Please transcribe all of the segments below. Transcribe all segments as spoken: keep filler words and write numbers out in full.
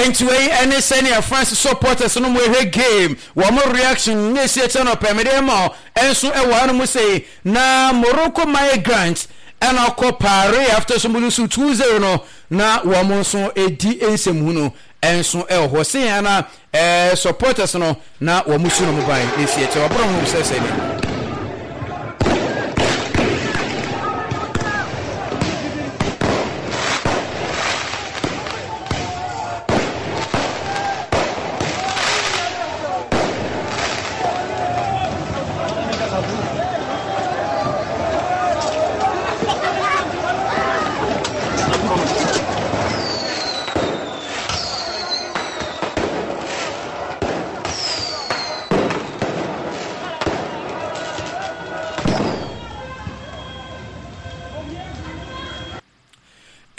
Enti wei ɛne sɛnea France supporters no mo ɛhwɛ game, wɔn reaction ne esi ɛkyɛ no pɛ mede ma ɛnso ɛwɔ ha no mu sei. Na Morocco migrants ɛna ɔkɔ Paris after so mo lose two zero no, na wɔn nso edi nsɛmhu no ɛnso ɛwɔ hɔ sɛ yɛn na ɛɛ supporters no na wɔn su no mo ban ne esi ɛkyɛ wɔaboro ho sɛ sɛ ne.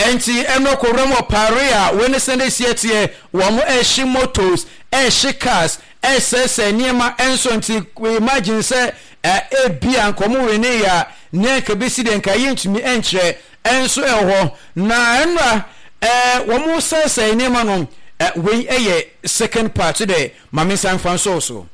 Enti ɛno kɔwura mu wɔ Paris a wei ne sɛnde si ɛteɛ, wɔn ɛhye motos, ɛhye cars, ɛsɛsɛ nneɛma ɛnso. Nti imagine sɛ ebi a nka wɔn wene yɛ a, nea nka bɛsi deɛ nka yɛntumi ɛnkyerɛ ɛnso ɛwɔ hɔ. Na ɛnora ɛɛ wɔn sɛsɛ nneɛma no, ɛ wei ɛyɛ second part dɛ maame nsa nfa nso so.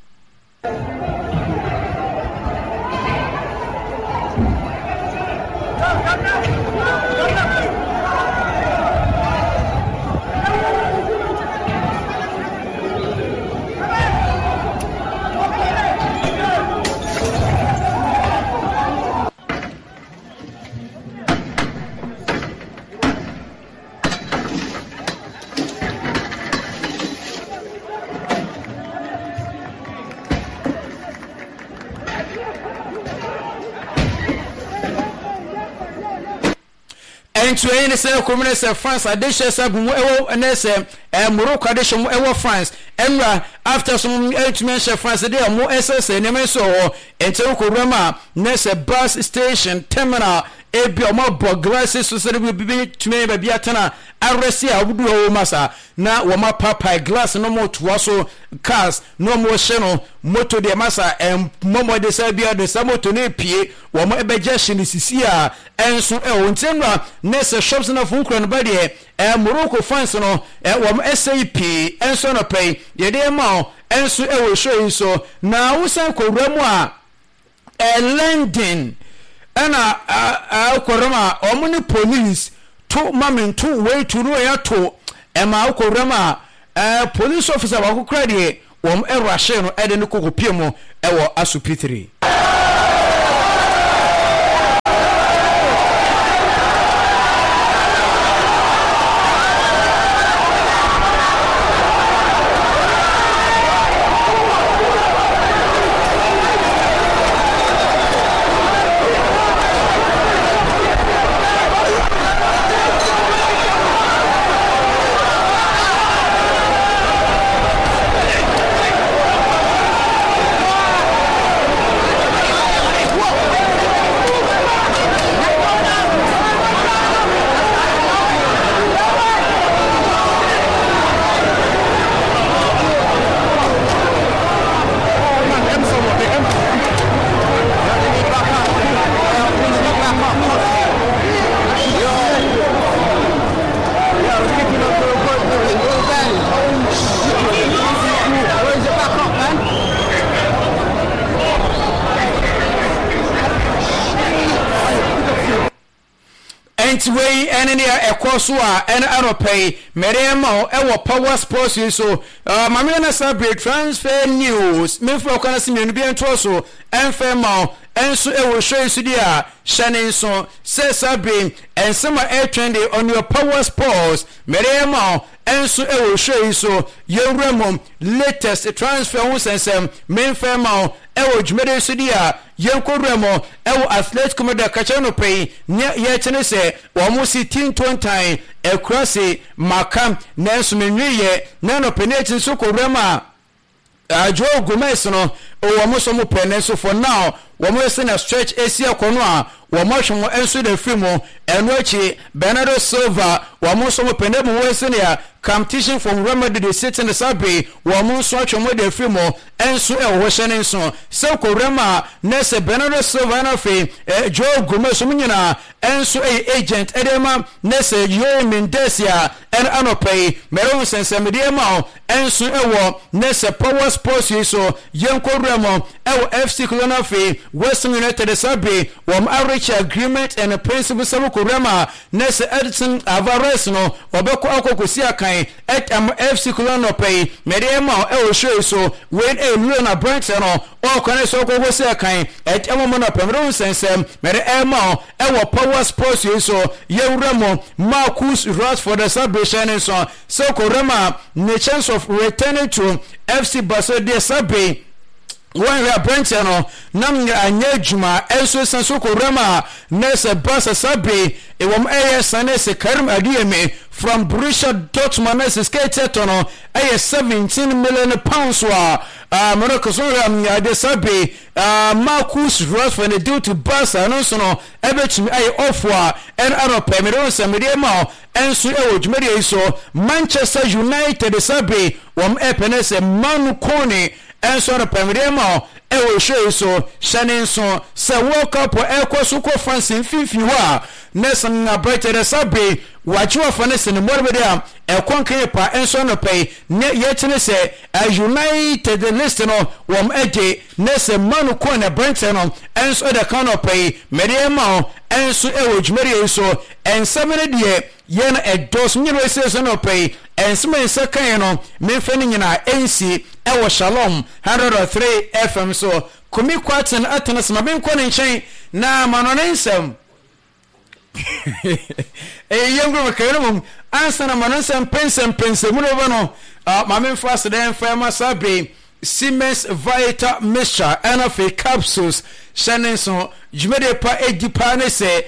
Nti ɛyi ne sɛ kurom ne sɛ France adehyɛ sɛ gu mu ɛwɔ ne sɛ ɛɛ Morocco adehyɛ mu ɛwɔ France ɛnura after so mu ɛntumi nhyɛ France de ɔmo ɛsɛsɛ nneɛma nso wɔ hɔ. Nti ɛwɔ kɔ a ne sɛ bus station terminal ebi ɔmo abɔ glass so sɛ ebi bi tumi ayɛ baabi atena arɛsi a ɔmo du hɔ wɔ mu asa na wɔn apaapae glass no mo toa so cars na wɔn hyɛ no moto deɛ masa ɛmmɔmɔ de sɛ bi de sɛ moto no epie wɔn ɛbɛgye hyɛ ne sisi a ɛnso ɛwɔ. Nti nnura ne sɛ shops na fun kura no ba deɛ ɛɛ Morocco fans no ɛ wɔn ɛsɛ yi pii ɛnso anɔpɛ yi yɛde ɛma o ɛnso ɛwɔ show yi so. Na wosan kɔ wura mu a ɛɛ London ɛna ɛɛ kɔrɔm a wɔn ne police to mami nto wei to no yɛ to ɛma akɔ wura mu a ɛɛ police officer baako kura deɛ wɔn ɛwura no ɛde ne koko pie mu ɛwɔ asopitiri. Nti wei ɛne nea ɛkɔ so a ɛne anɔpɛ yi mɛde ma wo ɛwɔ Power Sports yi so. Maame yɛ na sa bere transfer news memfa ɔkwan ase mmienu bi ntoɔ so ɛmfɛ ma wo ɛnso ɛwɔ show yi so di a hyɛ ne nso sɛ sa bere ɛnsɛm a ɛtwɛn de on your Power Sports mɛde ma wo ɛnso ɛwɔ show yi so. Yɛwura mu latest transfer ho nsɛnsɛm memfɛ ma wo ɛwɔ dwumadi so di a yɛnkɔwura mu ɛwɔ Atletico Madrid kakyɛ no pɛ yi nea yɛkyɛ ne sɛ wɔn si tintontan akura se maka nanso menweyɛ na nɔpɛ ne akyi nso kɔwura mu a Joe Gomez no wɔn nso mo pɛ nanso for now wɔn sɛ na stretch esi akɔ no a wɔn ahwɛ wɔn nso da firi mu. Ɛno akyi Bernardo Silva wɔn nso mo pɛ na emu wɔn sɛ nea competition from Real Madrid City ne saa bere wɔn nso atwe wɔn da firi mu ɛnso ɛwɔ hɔ. Hyɛ ne nso sɛ kɔwura mu a na sɛ Bernardo Silva na afei Joe Gomez wɔn nyinaa ɛnso ɛyɛ agent ɛde ma na sɛ Yoe Mendes a Ɛno anɔpa yi, mɛrɛ wo nsɛnsɛmdeɛ ma wo ɛnso ɛwɔ ne sɛ Power Sports yi so. Yɛnkɔ wura mu ɛwɔ F C Cologne. Afei West Ham United saa bere wɔn areach agreement and principle sɛ wokɔ wura mu a, ne sɛ Edson Alvarez no ɔbɛkɔ akɔ kɔsi akan ɛtam F C Cologne. Anɔpa yi mɛde ɛma wo ɛwɔ show yi so. Wei ɛyɛ loan, aberanteɛ no ɔkɔ ne sɛ ɔkɔ kɔsi akan ɛtam mu. Anɔpa mɛde wo nsɛnsɛm mɛde ɛma wo ɛwɔ Power Sports yi so. Yɛwura mu, Marcus Rashford saa bere hyɛn ne nso sɛ ɔkɔwura mu a, ne chance of returning to F C Barcelona deɛ, saa bere wɔnhwɛ aberanteɛ no nam anyɛ adwuma. Ɛnso san so kɔwura mu a, na sɛ Barca saa bere ɛwɔm ɛyɛ sane sɛ Karim Adeyemi from Borussia Dortmund, na sɛ sika ɛtɔ no ɛyɛ seventeen million pounds a mmerɛ so hwɛ ade. Saa bere Marcus Rashford ne deal to Barca no nso no ɛbɛtumi ayɛ ɔfo a ɛno anɔpɛ mede wo nsɛm mede ma wo ɛnso ɛwɔ dwumadie yi so. Manchester United saa bere wɔn ɛpɛ ne sɛ Manu Kone ɛnso anɔpɛ mede ma wo ɛwɔ show yi so. Hyɛ ne nso sɛ World Cup ɛkɔ so kɔ France mfimfini hɔ a, ne sɛ aberɛkyɛ dɛ saa bere wagye wafa ne sɛ ne mmɔdebɛde a ɛkɔ nkan pa. Ɛnso anɔpɛ yi ne yɛkyene sɛ United list no wɔn agye ne sɛ Manu Kone aberɛnkyɛ no ɛnso ɛda kan. Anɔpɛ yi mede ɛma wo ɛnso ɛwɔ dwumadie yi so. Ɛnsɛm no deɛ yɛn ɛdɔɔso nyina ɛsɛ so. Anɔpɛ yi ɛnsɛm a nsa kan no memfa no nyinaa ɛnsi ɛwɔ Shalom one hundred and three F M so. Kumi Kwaten atena sɛ ma menkɔ ne nkyɛn na ma no ne nsɛm ɛyɛ yɛn nkuro kɛyɛ no mom ansa na ma no nsɛm pɛnsɛmpɛnsɛm mu no bɛba no. Ma memfa aseda mfa ma saa bere Siemens Vital Mixture ɛna afei capsules. Hyɛ ne nso dwumadie pa edi paa ne sɛ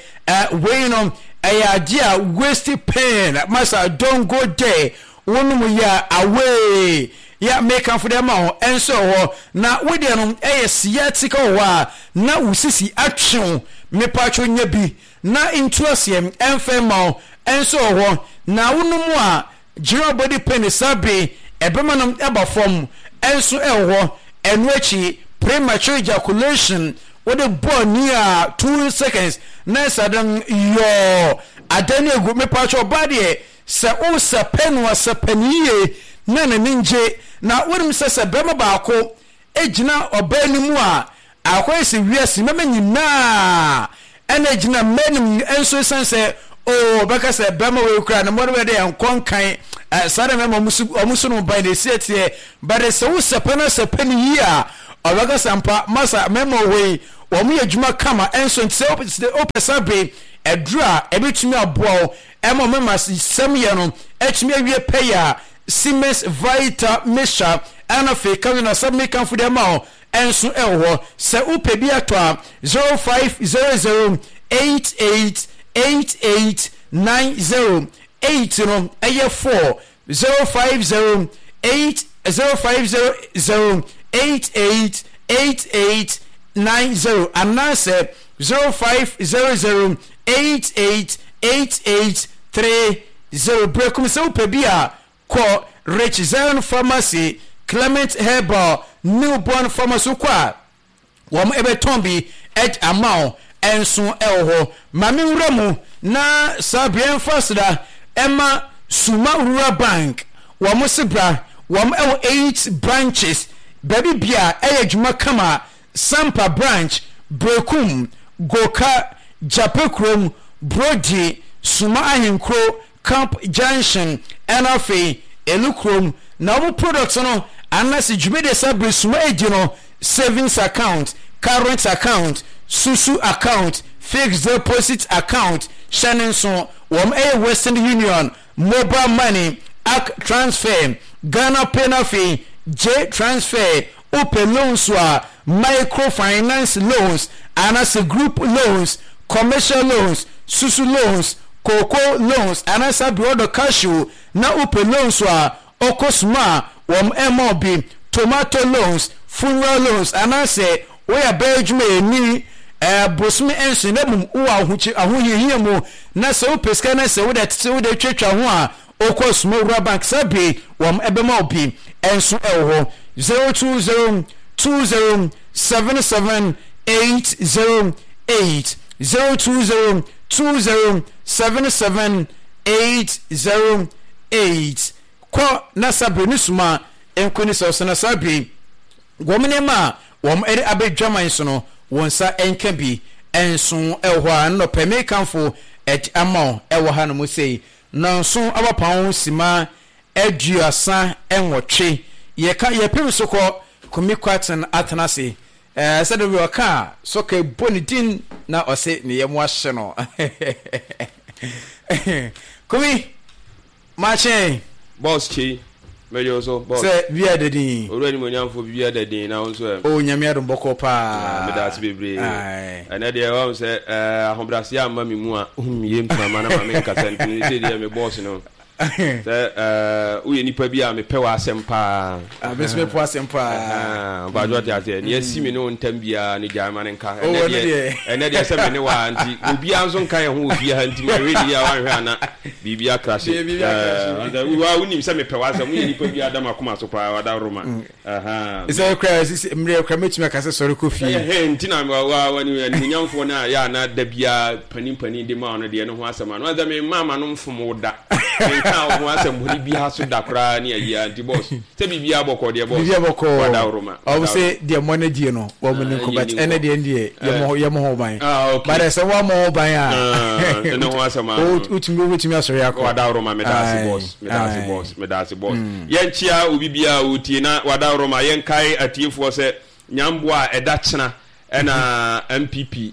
wei no ɛyɛ adeɛ a waist pain masa, don't go there. Wonom yɛ away yɛ mekamfo de ma wo ɛnso wɔ hɔ na wodeɛ no ɛyɛ sciatica wɔ hɔ a na wo sisi atwe wo. Mepatwo nya bi na ntu aseɛ ɛmfɛ ma wo. Ɛnso wɔ hɔ na wonom a general body pain saa bere ɛbɛma no ɛba fam. Ɛnso ɛwɔ hɔ. Ɛno akyi, premature ejaculation, wode bɔɔ ni a two seconds na ɛsɛ de yɔɔ ada ne egu. Mepatwo ɔbaa deɛ sɛ wosɛpɛ no asɛpɛ no yie na n'ani ngye na wonim sɛ sɛ bɛrima baako gyina ɔbaa no mu a, akɔyɛ sɛ wiase mɛma nyinaa ɛna gyina mmaa no mu. Nso ɛsiane sɛ oo bɛka sɛ bɛrima wei kura ne mmɔde bɛde nkɔ nkan saa na mɛma ɔmo so no ban na esi ɛteɛ bɛde sɛ wosɛpɛ no asɛpɛ no yie a, ɔbɛka sɛ mpa masa mɛma wei wɔn yɛ adwuma kama. Ɛnso nti sɛ wopɛ sa be ɛduru a ɛbɛtumi aboa wo ɛma ɔmɛma sɛm yɛ no ɛtumi awie pɛyɛ a, Siemens Vital Mixture ɛna afei ka no na sɛ mekamfo de ama wo ɛnso ɛwɔ hɔ. Sɛ wopɛ bi atɔ a, zero five zero zero eight eight eight eight nine zero eight no ɛyɛ four, zero five zero eight zero five zero zero eight eight eight eight nine zero anaasɛ zero five zero zero eight eight eight eight three zero. Brekum, sɛ wopɛ bi a, kɔ Rich Zion Pharmacy, Clement Herbal, Newborn Pharmacy. Kɔ a wɔn ɛbɛtɔn bi ɛd ama wo. Ɛnso ɛwɔ hɔ. Maame nwura mu na saa bea mfa aseda ɛma Suma Rural Bank. Wɔn se bra, wɔn ɛwɔ eight branches baabi bia ɛyɛ adwuma kama: Sampa Branch, Brekum, Goka, Japekurom, Brodi, Suma Ahenkuro, Camp Junction, ɛna afei Elukurom. Na wɔn product no anaasɛ dwumadie saa bere Suma edi no: savings account, current account, susu account, fixed deposit account. Hyɛ ne nso wɔn ɛyɛ Western Union, mobile money, A C H transfer, Ghana Pay na afei J transfer. Wopɛ loans a, microfinance loans anaasɛ group loans, commercial loans, susu loans, cocoa loans anaasɛ abiɔdɔ cashew na wopɛ loans a, ɔkɔ Suma a wɔn ɛma bi, tomato loans, funeral loans anaasɛ woyɛ abɛyɛ adwuma yɛni ɛɛ bosome nson na mmom wowɔ ahohiahia mu na sɛ wopɛ sika na sɛ wode tete wode twatwa ho a, okɔ Suma Rural Bank saa bere wɔn ɛbɛma wo bi. Ɛnso ɛwɔ hɔ. zero two zero two zero seven seven eight zero eight, zero two zero two zero seven seven eight zero eight kɔ na sabere ne suma nko ne sɛ ɔsɛ na sabere wɔn nneɛma a wɔn de abɛdwaman so no wɔn nsa nka bi nso ɛwɔ hɔ a nnɔpɛ mekanfo ɛde ama wo ɛwɔ ha no mu sei nanso abapɔn sima aduasa nwɔtwe yɛka yɛpem so kɔ Kumi Kwaten atena ase ɛɛ sɛde bi ɔka a sɔka bɔ ne din na ɔse ne yam ahye no. Kumi makye. Boss Chi, mɛyɛ so boss. Sɛ bia da din. Owura ni mo nyamfo bia da din na wo nso ɛ. O Nyame adom bɔkɔ paa. Meda ase bebree. Ɛnɛ deɛ wɔn sɛ ɛɛ ahobrɛase amma me mu a yɛ mframa na ma me nkasa nti ne sɛ deɛ me boss no. Sɛ ɛɛ woyɛ nipa bi a mepɛ w'asɛm paa. Abɛsi mepɛ w'asɛm paa. Mpatsɔ te aseɛ nea esi me ne wo ntam biara ne gyae ma ne nka. Ɛnɛ deɛ ɛnɛ deɛ sɛ me ne wa nti obiara nso nka yɛn ho wɔ fie ha nti ma hwɛ ni a wanhwɛ ana biribi akrahye. Ɛɛ wa wonim sɛ mepɛ w'asɛm, woyɛ nipa bi adam akoma so paa wada roma. Sɛ kura sisi mmerɛ kura mɛtumi aka sɛ sɔre kɔ fie. Ɛhɛn nti na wa wa wa ni animuonyamfoɔ no a yɛ ana da biara panin panin de ma ɔno deɛ ne ho asɛm ano sɛ me mma ama no mfom wo da. Nka wo ho asɛm bɔne biara so da koraa ne ayi a nti boss sɛ biribiara bɔkɔ deɛ boss. Biribiara bɔkɔ. Wada roma. Ɔmo sɛ deɛ mɔ no die no wɔn ne nkɔ but ɛnɛ deɛ deɛ yɛ yɛ mo ho ban. But ɛsɛ wɔn mo ho ban a. Ne ho asɛm a. Wotumi wotumi asɔre akɔ. Wada roma meda ase boss meda ase boss meda ase boss. Yɛnkyia obi biara otie na wada roma yɛnkae atiefoɔ sɛ nyamboa a ɛda kyena ɛna N P P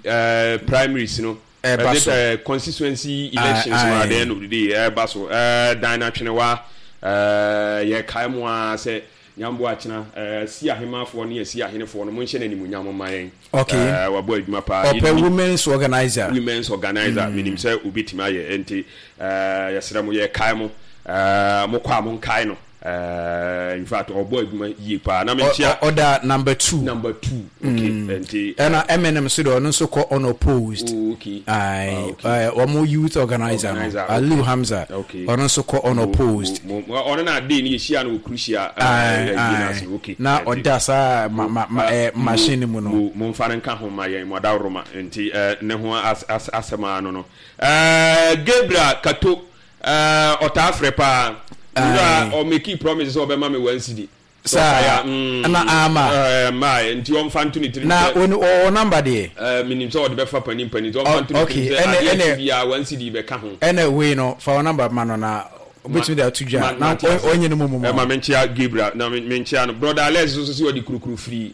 primaries no ɛba so. Uh, constituency elections no at the end of the day ɛba so. Dan na twenewa yɛkae mu a sɛ nyamboa kyena si ahemafoɔ ne asi ahenefoɔ no monhyɛ no animuonyam mma yɛn. Okay. Wabɔ adwuma paa. Ɔpɛ women's organizer. Women's organizer mm. Menim sɛ obɛtumi ayɛ nti yɛsrɛ mo, yɛkae mo, mokɔ a monkae no. Uh, in fact ɔbɔ adwuma yie paa na menkyia. Ɔda number two. Number two, okay. mm. Nti ɛna M N M so deɛ ɔno nso kɔ unopposed. Oh, okay. Ayi, wɔn youth organizer no, Aliu Hamza, ɔno nso kɔ unopposed. Ɔno na ade ni yɛhyia no wɔ Crucia. Okay, na ɔda saa ma ma ma ɛ machine mu no. Mo nfa ne nka ho ma yɛn mo adaworoma nti ne ho asɛm ano no Gabriel Kato ɔtaa frɛ paa wura ɔmake promise sɛ ɔbɛma me one cedi. Saa na ama. Mmaa nti ɔmfa nto ne tirim. Na ɔwɔ number deɛ. Menim sɛ ɔde bɛfa panin panin nti ɔmfa nto ne tirim sɛ adeɛ akyi biara one cedi bɛka ho. Ɛna wei no fa wɔ number ma no na obetumi de ato dwa na ɔnyɛ no mu mu. Ɛma menkyea Gabriel na menkyea no. Brother Alex nso sɛ ɔde kurukuru firi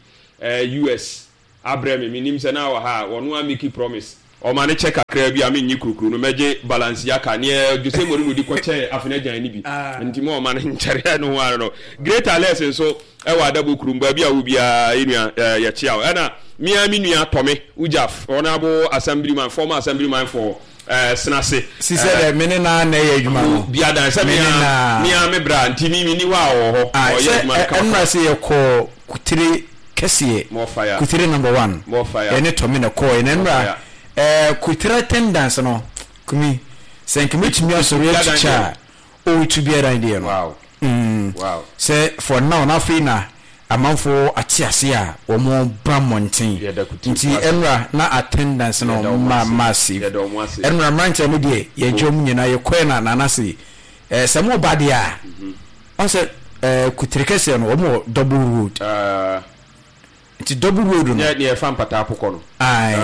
U S abrɛ me. Menim sɛ na wɔ ha a ɔno a make promise ɔma ne kyɛ kakra bi a menye kurukuru no mɛgye Balenciaga neɛ Jose Mourinho de kɔkyɛɛ afena gyan no bi nti ma ɔma no nkyɛreɛ no ho ano no. Great Alex nso ɛwɔ Adabo kurom baabi a wo biara yɛnua yɛkyea wo. Ɛna mea me nua Tɔme Ujaf, honorable assemblyman, former assemblyman for uh, Senase. Sisɛ dɛ me ne naa na ɛyɛ adwuma no. Biadan sɛ mea mea me bra nti mi mi ni hɔ a ɔwɔ hɔ ɔyɛ adwuma no kama. Ɛnura sɛ yɛkɔ Kutire kɛseɛ, Kutire number one, ɛne Tɔme na kɔɔ ɛna nnura ɛɛ Kutire attendance no kumi sɛ nka mɛtumi asɔre atukya a ɔretu biara deɛ no mm sɛ for now na afei na amanfoɔ ate ase a wɔn ba mmɔnten nti ɛnura na attendance no ma massive. Ɛnura mmeranteɛ no deɛ yɛgye wɔn nyinaa yɛkɔɛ na nana se ɛɛ sɛ mo ba deɛ a ɔn sɛ ɛɛ Kutire kɛseɛ no wɔn wɔ double road nti double road no. Nyɛ deɛ ɛfa mpataa pokɔ no. Ayi,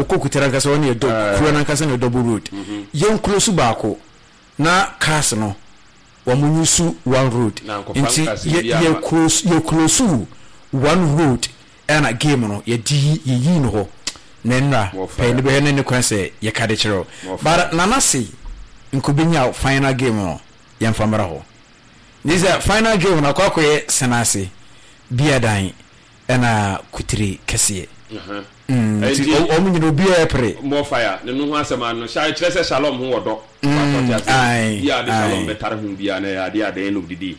okɔ Kutire ankasa wɔn yɛ dɔ kuro nankasa na double road yɛn kuro so baako na cars no wɔn use one road nti yɛ yɛ close yɛ close one road ɛna game no yɛde yi yɛyi no hɔ na nnura pɛɛ ne bɛyɛ ne ne kwan sɛ yɛka de kyerɛw but nana se nkobenya final game no yɛmfa mmra hɔ ne sɛ final game no akɔ akɔyɛ Senase Biadan ɛna Kutire kɛseɛ nti wɔn nyina obiara pere. More fire ne no ho asɛm ano hyɛ kyerɛ sɛ Shalom ho wɔ dɔ watɔte ase bia de Shalom bɛtare ho bia na ɛyɛ adeɛ at the end of the day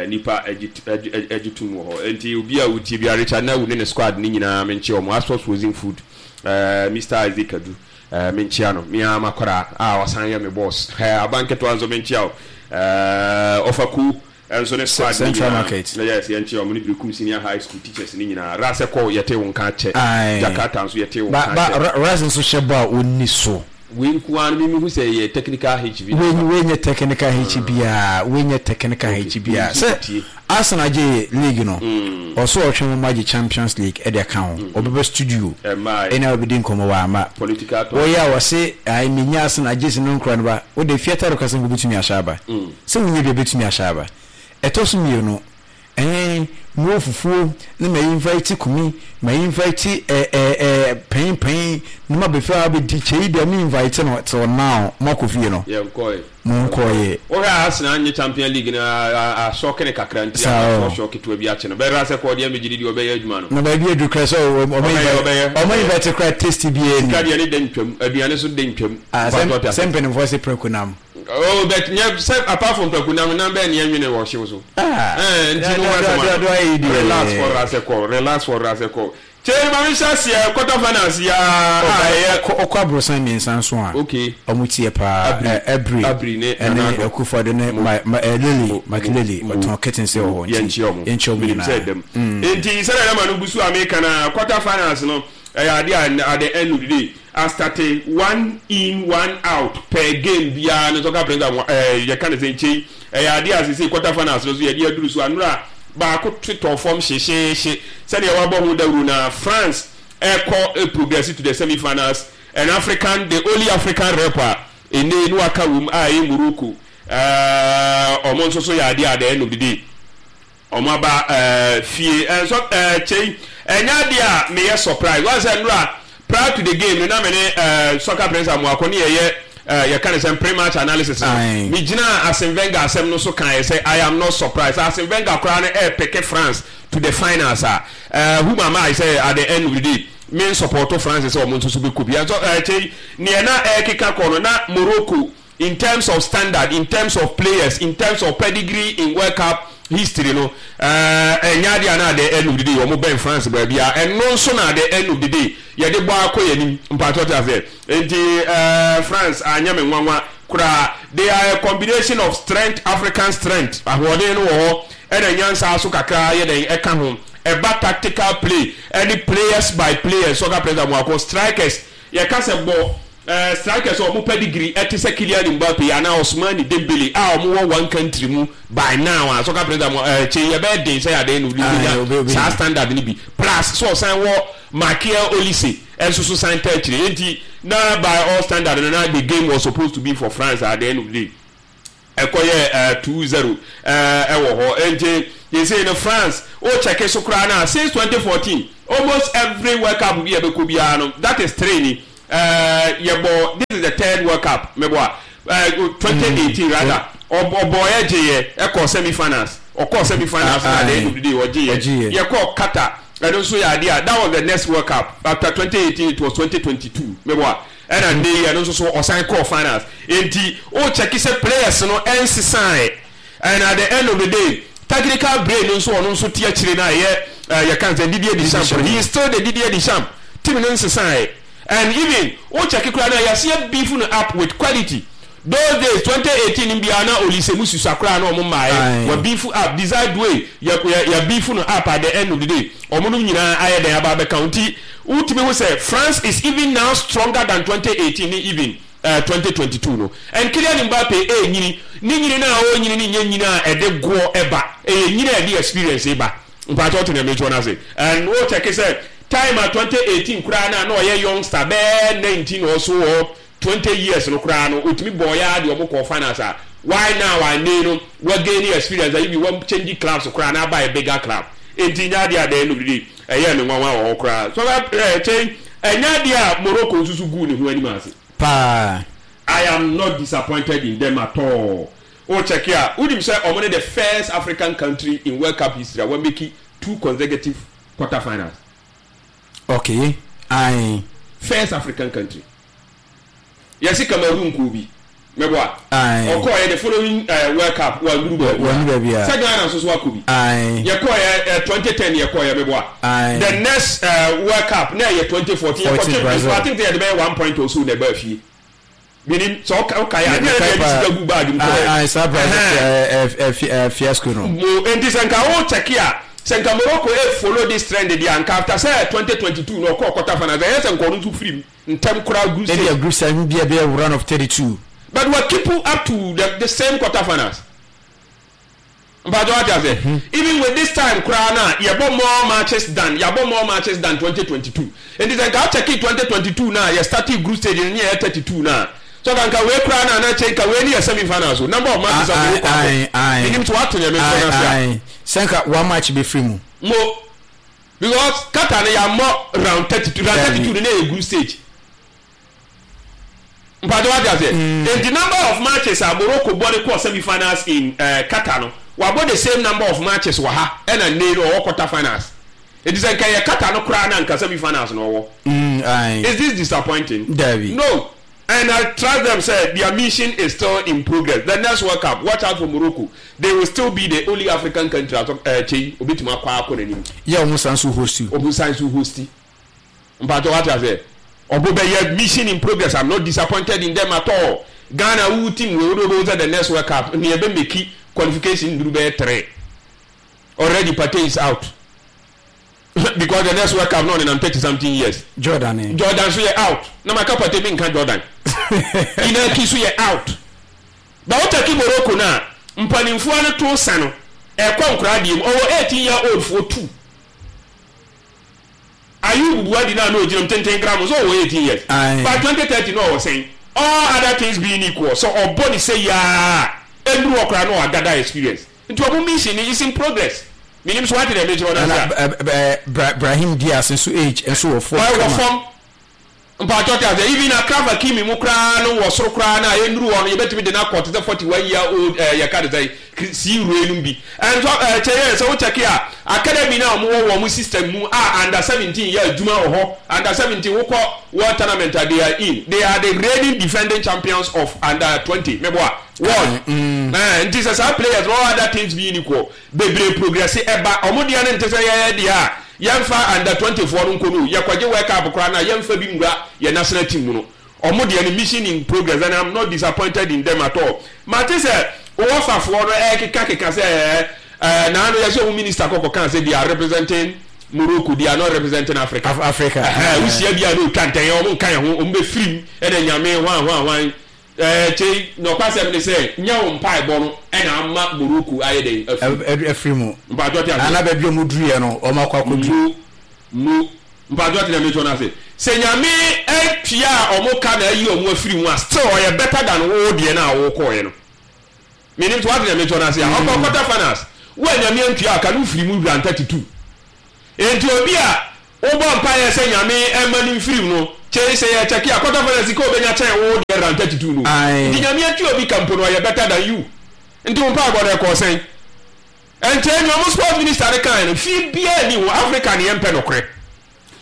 nipa agye tum wɔ hɔ nti obi a wotie bia Richard Nawu ne ne squad ne nyinaa menkye wɔn Assos Frozen Food, Mister Isaac Kadu menkyea no mea makɔra a ɔsan yɛ me boss abanketewa nso menkyea wo ɔfa ku nso ne squad ne Central Market. Yes, yɛnkyea wɔn ne Berekum Senior High School teachers ne nyinaa. Ras kɔ yɛte wo nka kyɛ. Jakarta nso yɛte wo nka kyɛ. Ba Ras nso hyɛ bɔ a ɔnni so. Wei nko ara no, mehu sɛ yɛ technical hitch bi. Wei wei nyɛ technical hitch biara, wei nyɛ technical hitch biara. Sɛ Arsenal gye league no, ɔso ɔtwe wɔn agye Champions League ɛde aka ho. Ɔbɛba studio ɛna ɔbɛdi nkɔmɔ wɔ ama. Wɔyɛ a wɔse ayi menya Arsenal gye si no nkura no ba. Wode fiata do kasa nko betumi ahyɛ aba. Sɛ wonya bi a betumi ahyɛ aba. Ɛtɔ so mmienu, ɛn mewɔ fufuo na ma invite Kumi, ma invite ɛ ɛ ɛ panyin panyin na ma bɛfɛ a bɛdi kyɛ yi deɛ me invite no till now mo akɔ fie no. Yɛnkɔɛ. Mo nkɔɛ. Wohwɛ a Arsenal nye Champion League no asɔke ne kakra nti asɔsɔ ketewa bi akye no. Bɛrɛ sɛ kɔɔ deɛ megye di deɛ ɔbɛyɛ adwuma no. Na baabi aduru kora sɛ ɔmo invite kora tasty bi ani. Sika deɛ ne da ntwam, aduane so da ntwam. Ah, sɛ mpanimfoɔ se prɛko nam. Oh, but nyɛ sɛ apart from prɛko nam, nam bɛɛ ne yɛnwene wɔ hyew so. Ah, Eh, nti no wasɛm ano. Relax for rasɛkɔ, relax for rasɛkɔ. Kyei ma mehyɛ aseɛ quarter finals yi a ɛyɛ. Ɔkɔ aborosan mmiɛnsa nso a. Okay. Ɔmo tie paa. Abiri. Abiri ne ɛne Akufo-Addo ne ma ma Lily Makilele ɔtɔn curtains wɔ hɔ nti. Yɛnkyia ɔmo. Yɛnkyia ɔmo nyinaa. Sɛ dɛm. Nti sɛdeɛ ɛma no gu so a meka na quarter finals no ɛyɛ adeɛ a at the end of the day astate one in, one out per game biara no soccer prince ɛɛ yɛka ne sɛ nkyɛn ɛyɛ adeɛ a sese quarter finals no so yɛde aduru so anora baako tetɔ fam hyehyeehye sɛdeɛ wabɔ ho dawuro na France ɛkɔ progress to the semi finals, and African, the only African rep a ene no aka wom a ɛyɛ Morocco, ɛɛ ɔmo nso so yɛ adeɛ at the end of the day ɔmo aba ɛɛ fie. Ɛnso ɛɛ kyɛn ɛnyɛ adeɛ a meyɛ surprise wɔn sɛ nura prior to the game no na me ne ɛɛ soccer prince Amoako ne yɛyɛ ɛɛ yɛka ne sɛ pre-match analysis no. Me gyina Arsene Wenger asɛm no so kan yɛ sɛ I am not surprised. Arsene Wenger koraa no ɛɛpick France to the finals a ɛɛ whom am I sɛ at the end of the day me support France sɛ ɔmo nso so bɛkɔ bi. Ɛnso ɛɛ kyɛn neɛ na ɛɛkeka kɔ no na Morocco, in terms of standard, in terms of players, in terms of pedigree in World Cup history no, ɛnyɛ adeɛ a na at the end of the day wɔn bɛn France baabi a. Ɛno nso na at the end of the day yɛde bɔ akɔ yɛn anim mpatsɔ te aseɛ. Nti ɛɛ France anyɛ me nwanwa koraa. They are a combination of strength, African strength, ahoɔden no wɔ hɔ, ɛna nyansa so kakra yɛ dɛn ɛka ho. Ɛba tactical play ɛne players by players, soccer players amuako strikers, yɛka sɛ bɔ uh, strikers a ɔmo pedigree ɛte sɛ Kylian Mbappe anaa Ousmane Dembele a ɔmo wɔ one country mu by now a soccer players mo ɛɛ kye yɛbɛyɛ den sɛ adeɛ no obi saa standard ni bi, plus so ɔsan wɔ Michael Olise ɛnso so san tɛ akyire. Nti na by all standard no na the game was supposed to be for France. At the end of the day ɛkɔyɛ ɛɛ two zero ɛɛ ɛwɔ hɔ. Nti yɛsɛ no France o check so koraa na since twenty fourteen almost every World Cup bi a ɛbɛkɔ biara no, that is three ni ɛɛ yɛbɔ. This is the third World Cup mɛbɔ a ɛɛ twenty eighteen rather, ɔbɔ yɛ gye yɛ ɛkɔ semi finals, ɔkɔ semi finals na at the end of the day ɔgye yɛ. Yɛkɔ Qatar, ɛno nso yɛ adeɛ a that was the next World Cup after twenty eighteen, it was twenty twenty-two mɛbɔ a ɛna ne yɛ no nso so ɔsan kɔɔ finals. Nti o check sɛ players no ɛnsesan, and at the end of the day technical brain no nso ɔno nso te akyire na ɛyɛ ɛɛ yɛka sɛ Didier Deschamps, he is still the Didier Deschamps. Team no nsesan, and even o check koraa na yɛaseɛ beef no up with quality. Those days twenty eighteen biara na Olise mu susua koraa na ɔmo mmaayɛ wɔ beef up. Desire Doue yɛ yɛ yɛ beef no up. At the end of the day ɔmo no nyinaa ayɛ dɛn aba abɛka ho. Nti wotumi ho sɛ France is even now stronger than twenty eighteen ne even uh, twenty twenty-two no. And Kylian Mbappe ɛnyini ne nyini no a ɔnyini ne nyɛ nyini a ɛde goɔ ɛba, ɛyɛ nyini a ɛde experience ba. Mpakyɛ ɔte nea mekyerɛ no ase. And wo check sɛ time a twenty eighteen koraa na na ɔyɛ youngster bɛɛ nineteen or so or twenty years no koraa no, otumi bɔɔ ya de ɔmo kɔɔ finals a, why now a ne no wa gain experience a even wa change clubs koraa na aba a bigger club? Nti nya adeɛ a the end of the day ɛyɛ me nwanwa wɔ hɔ koraa so ɛɛ kyɛn ɛnya adeɛ a Morocco nso so guu ne ho anim ase. Paa. I am not disappointed in them at all. O check a wonim sɛ ɔmo ne the first African country in World Cup history a wɔn make two consecutive quarter finals. Okay, ayi. First African country. Yɛsi Cameroon kɔ bi mɛbɔ a Aye. ɔkɔɔ yɛ the following uh, World Cup wanduru baabi. Wanduru baabi a. Sɛ Ghana nso so akɔ bi. Aye. Yɛkɔɔ yɛ twenty ten yɛkɔɔ yɛ mɛbɔ a Aye. the next uh, World Cup na yɛ twenty fourteen yɛkɔ fourteen twɛ Brazil. I think sɛ yɛde bɛyɛ one point or so na ɛbaa fie menim sɛ ɔka ɔka yɛ a ne yɛde yɛde sika gu bag mu kɔɔ. Aye, saa Brazil Ɛhɛn. ɛ ɛ fiasco no. Mo nti sɛ nka wo check a sɛ nka Morocco e follow this trend deɛ, nka after sɛ twenty twenty two na ɔkɔɔ quarter finals, ɛyɛ sɛ nka ɔno nso firi mu. Ntɛm koraa group stage. Ebi a group stage bi a bɛyɛ round of thirty two. But wa keep up to the the same quarter finals. Mpatsɔ wate ase. Mm-hmm. Even with this time koraa na yɛbɔ more matches than yɛabɔ more matches than twenty twenty two. Nti sɛ nka akyɛke twenty twenty two na yɛ starting group stage ne yɛ thirty two na so ka nka wei koraa na na kyɛ nka wei ne yɛ semi finals o number of matches a wɔwɔ kɔ abɔ. Menim so wate nea mekyerɛ no ase a. Sɛ nka one match bɛfiri mu. Mo because Qatar no yɛammɔ round thirty two round thirty two no na yɛ group stage. Mpatsɔ wate aseɛ. Mm. Nti number of matches a Morocco bɔ de kɔɔ semi finals in uh, Qatar no wabɔ the same number of matches wɔ ha ɛna nne no ɔwɔ quarter finals. Nti sɛ nka yɛ Qatar no koraa na nka semi finals na ɔwɔ. Mm, Is this disappointing? Dabi. No. And I trust them say their mission is still in progress. The next World Cup, watch out for Morocco. They will still be the only African country atɔ ɛɛ kyei obetumi akɔ akɔ n'anim. Yɛ ɔmo san so host. Ɔmo san so host. Mpatsɔ wate aseɛ. Ɔmo bɛyɛ mission in progress. I'm not disappointed in them at all. Ghana wo team wei wode wobɛhu sɛ the next World Cup ne yɛbɛ make qualification nduru bɛyɛ three. Already Partey is out. Because the next World Cup na ɔnenam thirty something years. Jordan eh. Jordan so yɛ out. Na maka Partey menka Jordan. Inaki so yɛ out. But wo take Morocco no a mpanimfoɔ no to sa no ɛkɔ nkoraa deɛ mu. Ɔwɔ eighteen year old foɔ two. Ayub Buadi no a na ogyina mu tenten gram nso ɔwɔ eighteen years. By twenty thirty na ɔwɔ sɛn? All other things being equal, sɛ ɔbɔ ne sɛ yi ara a, ɛnnuru hɔ koraa na ɔagada experience. Nti ɔmo mission no is in progress. Menim so wate deɛ mekyerɛ wo no ase a. Ɛna Brahim Diaz nso age nso wɔ fam kama. Ɛwɔ fam. Mpakyɛw te aseɛ, even Achraf Hakimi mu koraa no wɔ soro koraa no a ɛnnuru hɔ no yɛbɛtumi de no akɔ te sɛ forty one year old eh, yɛka ne sɛn, Sii wura nom bi. Ɛnso eh, kyɛ yɛ sɛ wo check a, academy no a wɔn wɔ wɔn system mu a under seventeen yɛ adwuma wɔ hɔ, under seventeen wokɔ world tournament a they are in, they are the reigning defending champions of under twenty, meboa, world. Eh, nti sɛ saa players no all other things being equal, bebree progress ɛba, wɔn deɛ no nte sɛ yɛn deɛ a yɛnfa under twenty foɔ no nkɔ no o, yɛkɔgye world cup koraa no a yɛnfa bi nwura yɛn national team mu no. Ɔmo deɛ no mission in progress and I'm not disappointed in them at all. Mate sɛ wɔfafoɔ no ɛɛkeka keka sɛ ɛɛ ɛɛ naano yɛsɛ ɔmo minister kɔ kɔkaa sɛ they are representing Morocco they are not representing Africa. Africa. Ɛhɛɛ wohyia bi a na otwa ntɛn ɔmo nka yɛn ho ɔmo bɛ firim ɛna nyame hwan hwan hwan ɛɛ kyei nɔkwasɛm ne sɛ nyɛ wo mpaebɔ no ɛna ama Morocco ayɛ dɛn afiri. Afiri mu. Mpaatwɔ te aseɛ. Ana baabi ɔmo duruiɛ no ɔmo akɔ akɔduru. Mo mo. Mpakyɛw te nea mekyerɛ no ase? Sɛ Nyame atua ɔmo ka na ayi ɔmo afiri mu a still ɔyɛ better than wo deɛ no a wo kɔɔɛ no. Menim sɛ wate nea mekyerɛ no ase a. Ɔkɔ quarter finals wo a Nyame antua wo ka no wo firi mu round thirty two. Enti obi a wo bɔ mpaeɛ sɛ Nyame mma no mfiri mu no kyei sɛ yɛ check a quarter finals sika obenya kyɛn wo deɛ round thirty two no. Nti Nyame atua obi ka mpo no ɔyɛ better than you. Nti wo mpaebɔ no ɛkɔɔ sɛn? Ɛnkyɛe nea ɔmo sports minister no kae no fii biaa nni ho, Africa ne yɛmpɛ nokorɛ.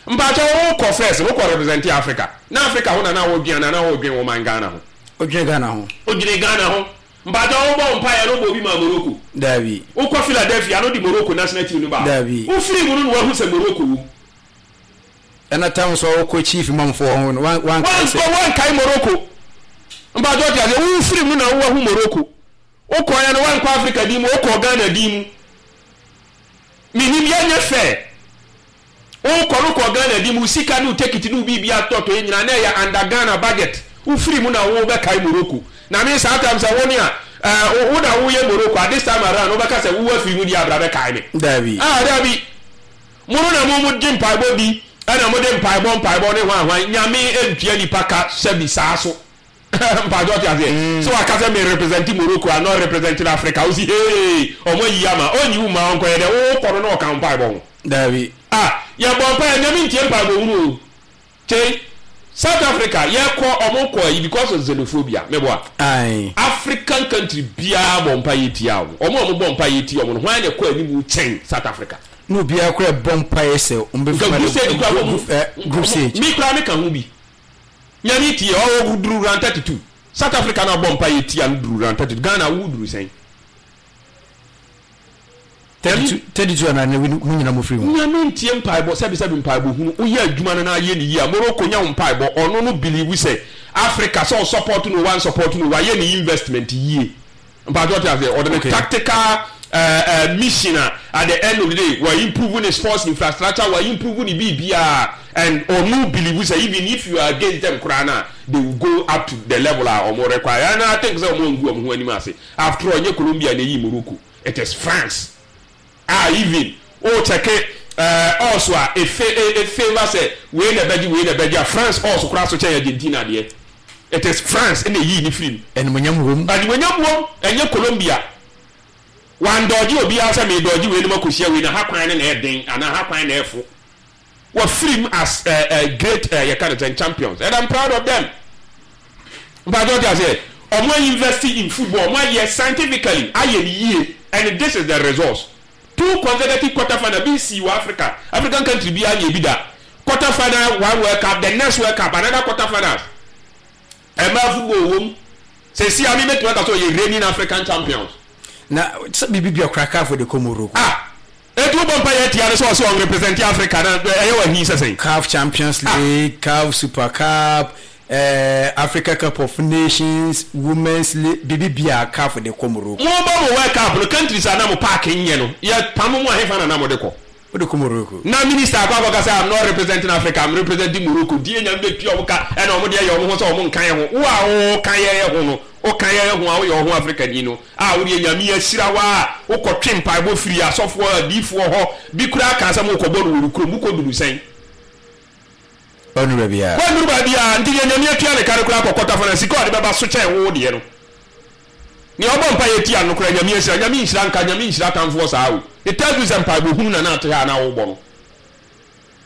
Mpakyɛw wo kɔ first no wo kɔ represente Africa, na Africa ho na na wo dwen anaa na wo dwen wo man Ghana ho? Wo dwene Ghana ho. Wo dwene Ghana ho. Mpakyɛw wo bɔ wo mpaeɛ no wo bɔ obi maa Morocco? Daabi. Wo kɔ Philadelphia no de Morocco national team no baa hɔ? Daabi. Wo firi mu no na wahu sɛ Morocco wom? Ɛna tam nso a wo kɔ chief imam foɔ ho no wankae sɛ. Wankɔ wankae Morocco. Mpakyɛw te aseɛ, wo firi mu no na wo wahu Morocco. Wokɔeɛ no woankɔ Africa din mu, wokɔɔ Ghana din mu. Menim yɛnyɛ fair. Wokɔ no kɔɔ Ghana din mu, wo sika ne wo tekiti ne wo biribi atɔtɔeɛ nyinaa na ɛyɛ under Ghana budget. Wofiri mu na wobɛkae Morocco. Na me saa time sɛ wo ne a eh, wo na woyɛ Morocco a this time around wobɛka sɛ wo afiri mu deɛ abra bɛkae me. Daabi. Ah, daabi. Mo no na mo mo gye mpaebɔ di ɛna mo de mpaebɔ mpaebɔ ne hwan hwan. Nyame ntua nipa ka sɛbi saa so. Mpatsɔ ɔte aseɛ. Sɛ waka sɛ me represent Morocco I'm not representing Africa wosi hee ɔmo ayi ama ɔnyi wo mma ɔnkɔyɛ dɛ wo kɔ no na ɔka wo mpaebɔ ho. Daabi. Ah yɛbɔ mpaeɛ Nyame ntie mpaebɔ hunu o kyei South Africa yɛkɔ ɔmo kɔ ayi because of xenophobia meboa Ae. African country biaa bɔ mpaeɛ tia ɔmo ɔmo a ɔmo bɔ mpaeɛ tia ɔmo no hwan na ɛkɔ animu kyɛn South Africa. Na obiara koraa bɔ mpaeɛ sɛ ɔmo bɛ Nka group stage koraa ɔmo group stage. Me koraa me ka ho bi. Nyame tie ɔwɔ duru round thirty two South Africa na ɔbɔ mpaeɛ tia no duru round thirty two Ghana wo duru sɛn? Thirty two anaa na mo nyina mo firi mu. Nyame ntie mpaebɔ sɛbi sɛbi mpaebɔ hunu woyɛ adwuma no na ayɛ ne yie a Morocco nya wo mpaebɔ ɔno no believe sɛ Africa sɛ ɔsupport no o wan support no o wayɛ ne investment yie. Mpatsɔ ɔte aseɛ ɔde ne tactical ɛɛ ɛɛ mission a at the end of the day wa improve ne sports infrastructure wa improve ne biribiara And ɔmo believe sɛ even if you are against them koraa na they will go up to the level a ɔmo require. And I think sɛ ɔmo ngu ɔmo ho anim ase. After all, nye Colombia na eyi Morocco, it is France a even o check ɛɛ also a efe e favour sɛ wei na ɛbɛgye, wei na ɛbɛgye a, France also koraa so kyɛn Argentina deɛ, it is France ɛna eyi ne firi mu. Ɛnumonyam wom. Animonyam wom. Ɛnyɛ Colombia wandɔgye obiara sɛ meedɔgye wei no ma kɔhyia wei na ha kwan no na ɛden anaa ha kwan na ɛfo. Wɔfiri mu as uh, uh, great uh, yɛka no sɛ champions, and I'm proud of them. Mpatsɛ ɔte aseɛ, ɔmo invest in football, ɔmo ayɛ scientifically, ayɛ ne yie, and this is the results: two consecutive quarter final bi si wɔ Africa. African country bi anyɛ bi da. Quarter final one World Cup, the next World Cup another quarter finals. Ɛmaa football wɔm sɛsi a mi bɛtumi aka sɛ ɔyɛ reigning African champions. Na sɛ biribi bi ɔkora CAF de kɔ Morocco. Ah, etu bɔ mpa yɛ tia no sɛ ɔsɛ ɔn represent Africa na ɛyɛ wɔ hi sɛ sɛn. CAF Champions League, CAF Super Cup, eh, Africa Cup of Nations, Women's League, biribi bi a CAF de kɔ Morocco. Mo bɔ mo World Cup no, countries a na mo park nyɛ no yɛ pam mo ahefa na na mo de kɔ. Wode kɔ Morocco. Na minister akɔ akɔka sɛ, "I'm not representing Africa, I'm representing Morocco." Die Nyame bɛtua ɔmo ka ɛna ɔmo deɛ yɛ ɔmo ho sɛ ɔmo nka yɛ ho. Wo a woka yɛ ho no, woka yɛ ho a woyɛ ɔho Africa ni no a, wodeɛ Nyame ahyira wo a wokɔtwe mpaebɔ firi asɔfoɔ, adiifoɔ hɔ bi koraa ka sɛ mokɔbɔ no wɔ ne kurom, wokɔduru sɛn? Ɔnuru baabi a. Wɔnnuru baabi a nti deɛ Nyame atua ne ka no koraa kɔ quarter final, sika a ɔde bɛba so kyɛn wo deɛ no. Nea ɔbɔ mpa yɛ tia no koraa, Nyame ahyira. Nyame nhyira nka, Nyame nhyira atamfoɔ saa o. It tells you sɛ mpaebɔ hunu na na ate ha a na wobɔ no.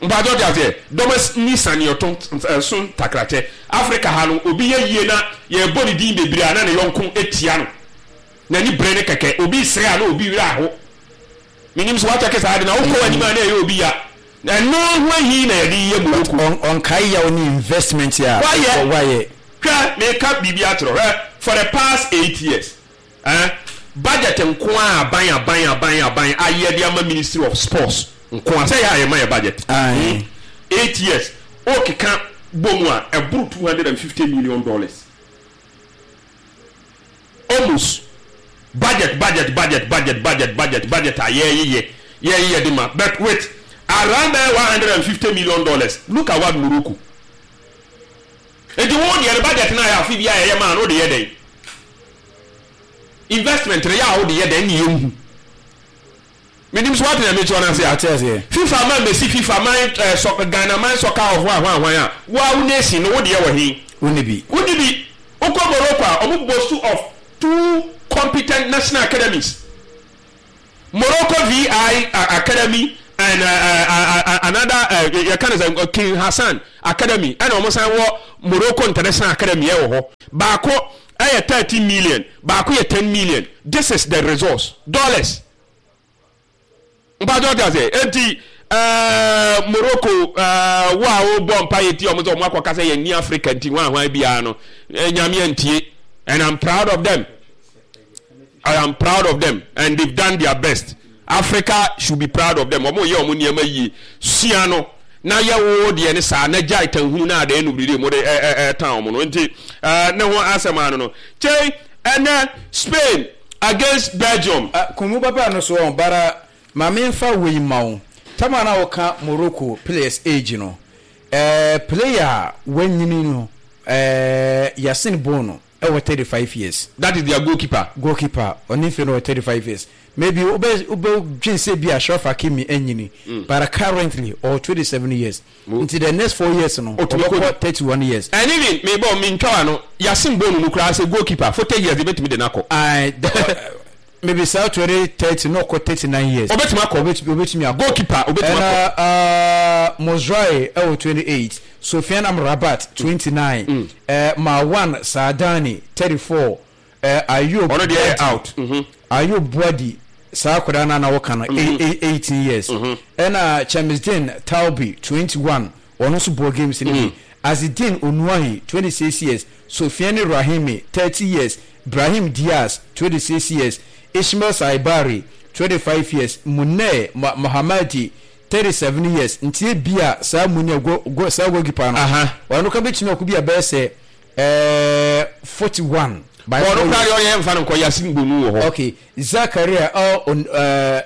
Mpakyɛ ɔte aseɛ, dɔm ni saneɛto so ntakrakyɛ. Africa ha no, obi yɛ yie na yɛbɔ ne din bebree a, na ne yɔnko etia no, n'ani bere ne kɛkɛ. Obi sere a na obi werɛ aho. Menim so wakyɛke saa de na wokɔ anim a na ɛyɛ obi ya. Ɛno ho ahi na yɛde yɛ Morocco. Ɔnkae yaw ne investment a wayɛ. Wayɛ. Hwɛ, meka biribi akyerɛ. Hwɛ, for the past eight years eh, budget nko a aban aban aban aban ayɛ de ama Ministry of Sports nko a, sɛ yɛ a yɛma yɛ budget Aye. hmm? Eight years okeka bɔ mu a, ɛboro two hundred and fifty million dollars almost. Budget, budget, budget, budget, budget, budget, budget a yɛyeyɛ yɛyeyɛ de ma, but with around bɛyɛ one hundred and fifty million dollars, look at what Morocco. Nti wo deɛ no, budget no a yɛ afe bi a yɛyɛ maa no, wode yɛ dɛn? Investment no yɛ a wode yɛ dɛn ne yɛnhu? Menim so wate na mekyerɛ no ase a. Ate aseɛ. FIFA man bɛsi FIFA man eh, sɔ, Ghana man soccer of hwan hwan hwan a woa wo nation no, wo deɛ wɔ he? Wonni bi. Wonni bi. Wokɔ Morocco a, ɔmo boast of two competent national academies, Morocco V I uh, Academy and uh, uh, uh, another uh, yɛka no sɛ King Hassan Academy, ɛna ɔmo san wɔ Morocco International Academy. Ɛwɔ hɔ, baako ɛyɛ thirteen million, baako yɛ ten million. This is the resource, dollars. Mpatsɔ ɔte ase, eti ɛɛ Morocco ɛɛ wo a wobɔ mpa yɛ ti ɔmo sɛ ɔmo akɔka sɛ yɛn ni Africa nti hwan hwan biara no, Nyame ntie, and I'm proud of them. I am proud of them and they've done their best. Africa should be proud of them. Ɔmo yɛ ɔmo nneɛma yie. Sua no na yɛ wo deɛ ne saa na gyae tanhunu na adeɛ no biridi mo de ɛ ɛ ɛ tan ɔmo no. Nti ɛɛ ne ho asɛm ano no kyɛn ɛnɛ Spain against Belgium. Kɔnmu baba no so ɔn bara maame nfa wei ma wo tama na wɔka Morocco players age no, ɛɛ player a wanyini no, ɛɛ Yassine Bono ɛwɔ thirty five years. That is their goalkeeper. Goalkeeper, ɔne nfe no wɔ thirty five years. Maybe wobɛ wobɛ dwen sɛ bi Achraf Hakimi anyini mm. but currently ɔwɔ twenty seven years, nti the next four years no ɔbɛkɔ thirty one years. And even me bɔ mi ntwa wa no, Yassine Bono no koraa sɛ goalkeeper, forty years ebetumi de n'akɔ. Ayi, maybe saa twenty thirty no ɔkɔ thirty nine years. Obetumi akɔ. Obetumi obetumi akɔ. Goalkeeper obetumi akɔ. Ɛna uh, Mozraoui ɛwɔ twenty eight, Sofiane Amrabat twenty nine, mm. uh, Marwan Saadani thirty four, uh, Ayoub ɔno deɛ yɛ out. Mm -hmm. Ayoub Bouaddi, saa akwadaa no na wɔka no, eighteen years, ɛna Chemsdine Talbi twenty one, ɔno nso bɔ games no bi. Azzedine Ounahi twenty six years, Sofiane Rahimi thirty years, Brahim Diaz twenty six years, Ismail Saibari twenty five years, Munir Mohamadi thirty seven years. Nti ebi a saa Munir go go saa goalkeeper no, ɔno ka bɛtumi akɔ bi a bɛyɛ sɛ ɛɛ forty one. Bɔɔl kura deɛ ɔyɛ nfa no nkɔ, Yassine Bono wɔ hɔ. Okay, Zakaria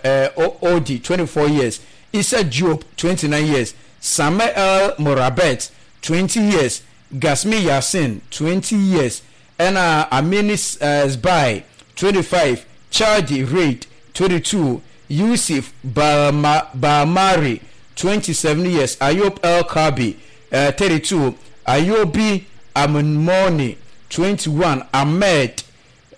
El Odi twenty four years, Issa Diop twenty nine years, Samuel Morabet, twenty years, Gasmi Yassin, twenty years, ɛna Amini Sbai, twenty five, Chardi Reid, twenty two, Yusuf Balmari, twenty seven years, Ayob El Kabi, thirty two, Ayobi Amoni, twenty one, Ahmed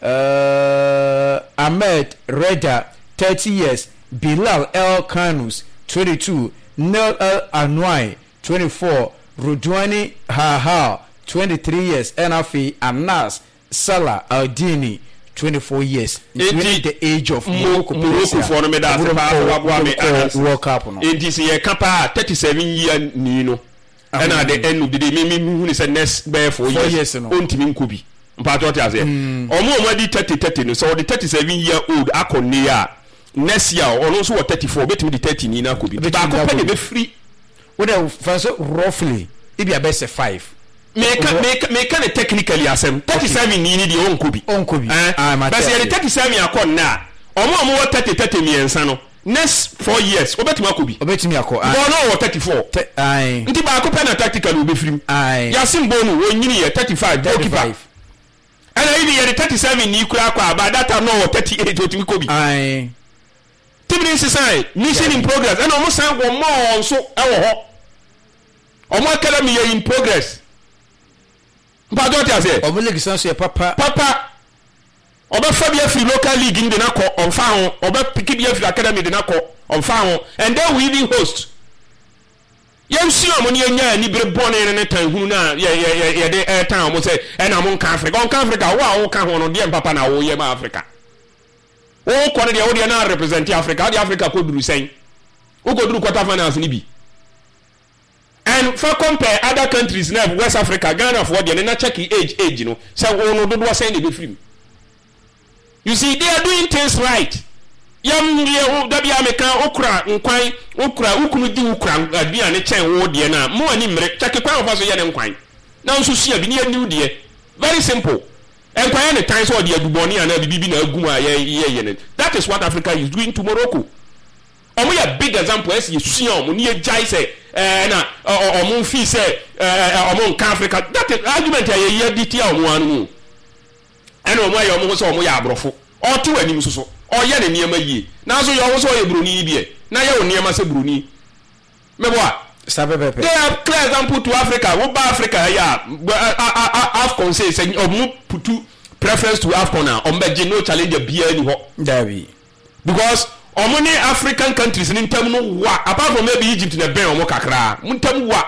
uh, Ahmed Reda, thirty years, Bilal El Kanus, twenty two, Nel El Anwai, twenty four, Rudwani Hahal, twenty three years, ɛna afei Anas Salah Aldini, twenty four years. Nti the age of Morocco Morocco no meda ase paa sɛ waboa me Anas. World Cup no. Enti sɛ yɛka paa, thirty seven year ni no, ɛna at the end of the day, me me hu ne sɛ next bɛyɛ four Four years years no. Ɔntumi nkɔ bi. Mpaatɔ te aseɛ, ɔmo a ɔmo adi thirty thirty no, sɛ ɔde thirty seven year old akɔ ne a, next year ɔno nso wɔ thirty four, obetumi de thirty ni na akɔ bi. Obetumi de baako akɔ pɛ na bi. ebɛfiri. Wode fa so roughly ebi abɛsɛ five. Meka meka meka ne technically asɛm, thirty seven ni ni deɛ, ɔnkɔ bi. Ɔnkɔ bi. Ɛn Ah, mate bɛsɛ yɛde ase. thirty seven akɔ nna a, ɔmo a ɔmo wɔ thirty thirty mmiɛnsa no, next four years obetumi akɔ bi. Obetumi akɔ. Because ɔno wɔ thirty four. Te- ae. Nti baako pɛ na tactically obɛfiri mu. Ae. Yasin Bono wɔnyini yɛ thirty five, goalkeeper. Thirty five. Ɛna even yɛde thirty seven ni kura akɔ a, by that time na ɔwɔ thirty eight, otumi kɔ bi. Ae. Team ne nsesan, mission in progress, ɛna ɔmo san wɔ mɔɔ nso ɛwɔ hɔ, ɔmo academy yɛ in progress. Mpatsɔ te aseɛ. Ɔmo league san so yɛ papa. Papa, ɔbɛfa bi afiri local league no de na kɔ, ɔnfa ho. Ɔbɛpiki bi afiri academy de na kɔ, ɔnfa ho. And then we even host. Yɛnsua ɔmo ne yɛnya anibere bɔne ne ne tan hunu no a yɛ yɛ yɛ yɛde ɛɛtan ɔmo sɛ ɛna mo nka Africa, ɔnka Africa. Wo a woka ho no deɛ, mpapa na woyɛ ma Africa. Wokɔ no deɛ, wo deɛ na represent Africa, wode Africa kɔduru sɛn? Wokɔduru quarter finals no bi and fa compare other countries na West Africa, Ghana foɔ deɛ ne na check age age no sɛ wo no dodoɔ sɛn na ɛbɛfiri mu. You see, they are doing things right. Yam yɛ wo dabi a meka, wokura nkwan, wokura wo kunu di, wokura aduane kyɛn wo deɛ no a, mo ani mmere. Check kwan wɔfa so yɛ ne nkwan na nso sua bi ne yɛ new deɛ. Very simple. Nkwan yɛ ne tan sɛ ɔde adubɔne anaa biribi bi na agu mu a yɛ yɛ yɛ ne. That is what Africa is doing to Morocco. Ɔmo yɛ big example ɛsɛ yɛsua ɔmo ne yɛgyae sɛ ɛɛ na ɔmo fi sɛ ɛɛ ɔmo nka Africa. That is argument a yɛyɛ de tia ɔmo ano mu. Ɛna ɔmo ayɛ ɔmo ho sɛ ɔmo yɛ aborɔfo. Ɔte wɔ anim soso, ɔyɛ ne nneɛma yie, nanso yɛ ɔho sɛ ɔyɛ buroni yi deɛ na yɛ wo nneɛma sɛ buroni mɛboa. Saa pɛpɛpɛ. They are clear example to Africa. Woba Africa ha yi a, AFCON sɛ sɛ ɔmo put preference to AFCON a, ɔmo bɛgye, no challenger biara ni hɔ. Dabi. Because ɔmo ne African countries ne ntam no wa, apart from maybe Egypt na bɛn ɔmo kakra, mo ntam wa.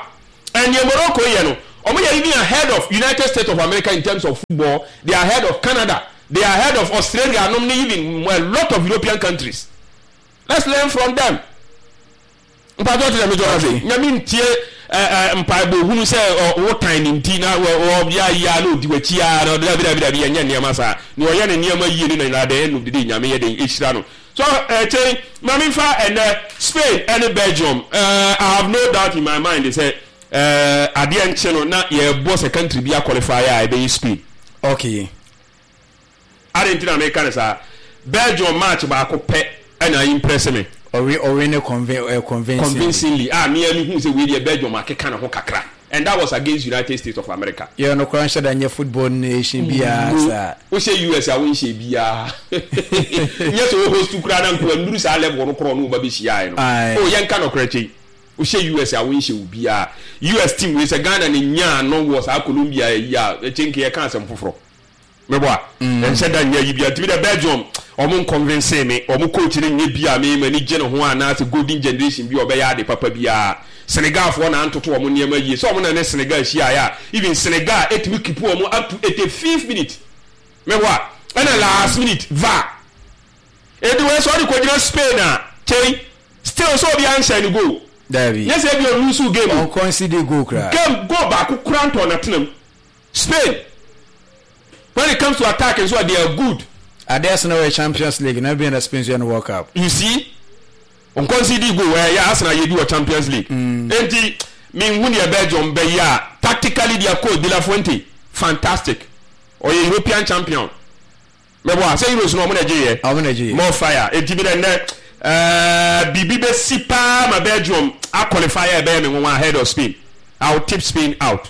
And neɛ Morocco yɛ no, ɔmo yɛ even ahead of United States of America in terms of football. They are ahead of Canada, they are ahead of Australia nom ne even a lot of European countries. Let's learn from them. Mpatsɔ ti na mi jɔ ase nyame ntie ɛɛ mpaebɔ hunu sɛ ɔ wotan ne nti na wɔ wɔ ya ya na odi w'akyi ya na dabi dabi dabi. Yɛnyɛ nneɛma saa. Nea ɔyɛ ne nneɛma yie ne na at the end of the day, Nyame yɛ den ehyira no. So ɛkyɛn maame nfa ɛnɛ Spain ɛne Belgium. ɛɛ I have no doubt in my mind sɛ ɛɛ adeɛ nkye no na yɛbɔ sɛ country bi aqualify a, ɛbɛyɛ Spain. Okay. Adi nti na meka ne saa, Belgium match baako pɛ ɛna impress me. Ɔwe ɔwe ne convin uh, convincingly. Convincingly a mea mi hu sɛ wei deɛ, Belgium akeka ne ho kakra, and that was against United States of America. Yɛ no koraa nhyɛ da nyɛ football nation biara saa. Wohyɛ U S a, wonhyɛ biara nyɛ sɛ wo host koraa na nkoa nnuru saa level no korɔ no woba bɛhyiaeɛ no. Aye. O yɛnka nɔkorɛ kyei, wohyɛ U S a, wonhyɛ wo biara. U S team wei sɛ Ghana ne nyaa no wɔ saa Colombia yi a, ɛkyɛ nke yɛka asɛm foforɔ meboa. Ɛnhyɛ da nyɛ yi bia ntumi dɛ Belgium ɔmo nconvince me. Ɔmo coach no nyɛ bi a me m'ani gye ne ho anaasɛ golden generation bi a ɔbɛyɛ ade papa biara. Senegalfoɔ na antoto ɔmo nneɛma yie sɛ ɔmo na ne Senegal hyiaeɛ a, even Senegal etumi keep ɔmo up to eighty fifth minute meboa, ɛna last minute V A R edi wɔ sɛ ɔde kɔgyina Spain a, kyɛn still sɛ obi anhyɛ ne goal. Dabi. Nyɛ sɛ ebi ɔlose game. Ɔnconcede goal koraa. Game goal baako kora ntɔ n'atena mu. Spain, when it comes to attack nso, they are good. Adeɛ ase na wɔyɛ Champions League na bi na Spain nso yɛ no World Cup. You see, nconcede goal ɛyɛ Arsenal yɛ bi wɔ Champions League. Enti minhu deɛ Belgium bɛyɛ a, tactically their coach De La Fuente, fantastic. Ɔyɛ European champion mɛbɔ a sɛ Euros no ɔmo na gye yɛ. Ɔmo na gye yɛ. More fire. Enti bi dɛ nnɛ uh, biribi bɛsi paa ma Belgium aqualify a ɛbɛyɛ me nwanwa ahead of Spain. I will tip Spain out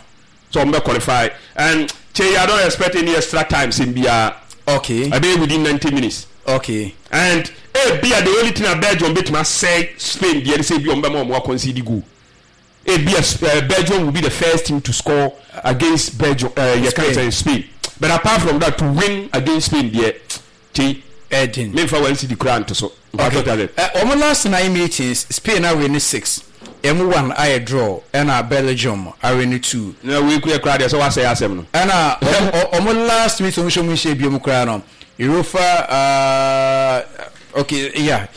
so ɔmo bɛ qualify and kyɛ, I don't expect any extra time sɛm biara. Okay ɛbɛyɛ within ninety minutes. Okay and ebia the only thing a Belgium bɛtumi asɛe Spain deɛ ne sɛ ebi ɔmo bɛma ɔmo aconcede goal. Ebia uh, Belgium will be the first team to score against Belgium, uh, yɛ kan sɛ Spain, but apart from that, to win against Spain deɛ, kyei, ɛdin. Memfa one cedi koraa nto so. Okay. Uh, wɔn last nine meetings, Spain awin ne six, ɛmu one ayɛ draw, ɛna Belgium awin ne two. Na wei kura kura deɛ sɛ wasɛe asɛm no. Ɛna wɔn last meeting, wɔn hyɛ wɔn nhyɛ biom koraa no Europa, uh, okay, yeah,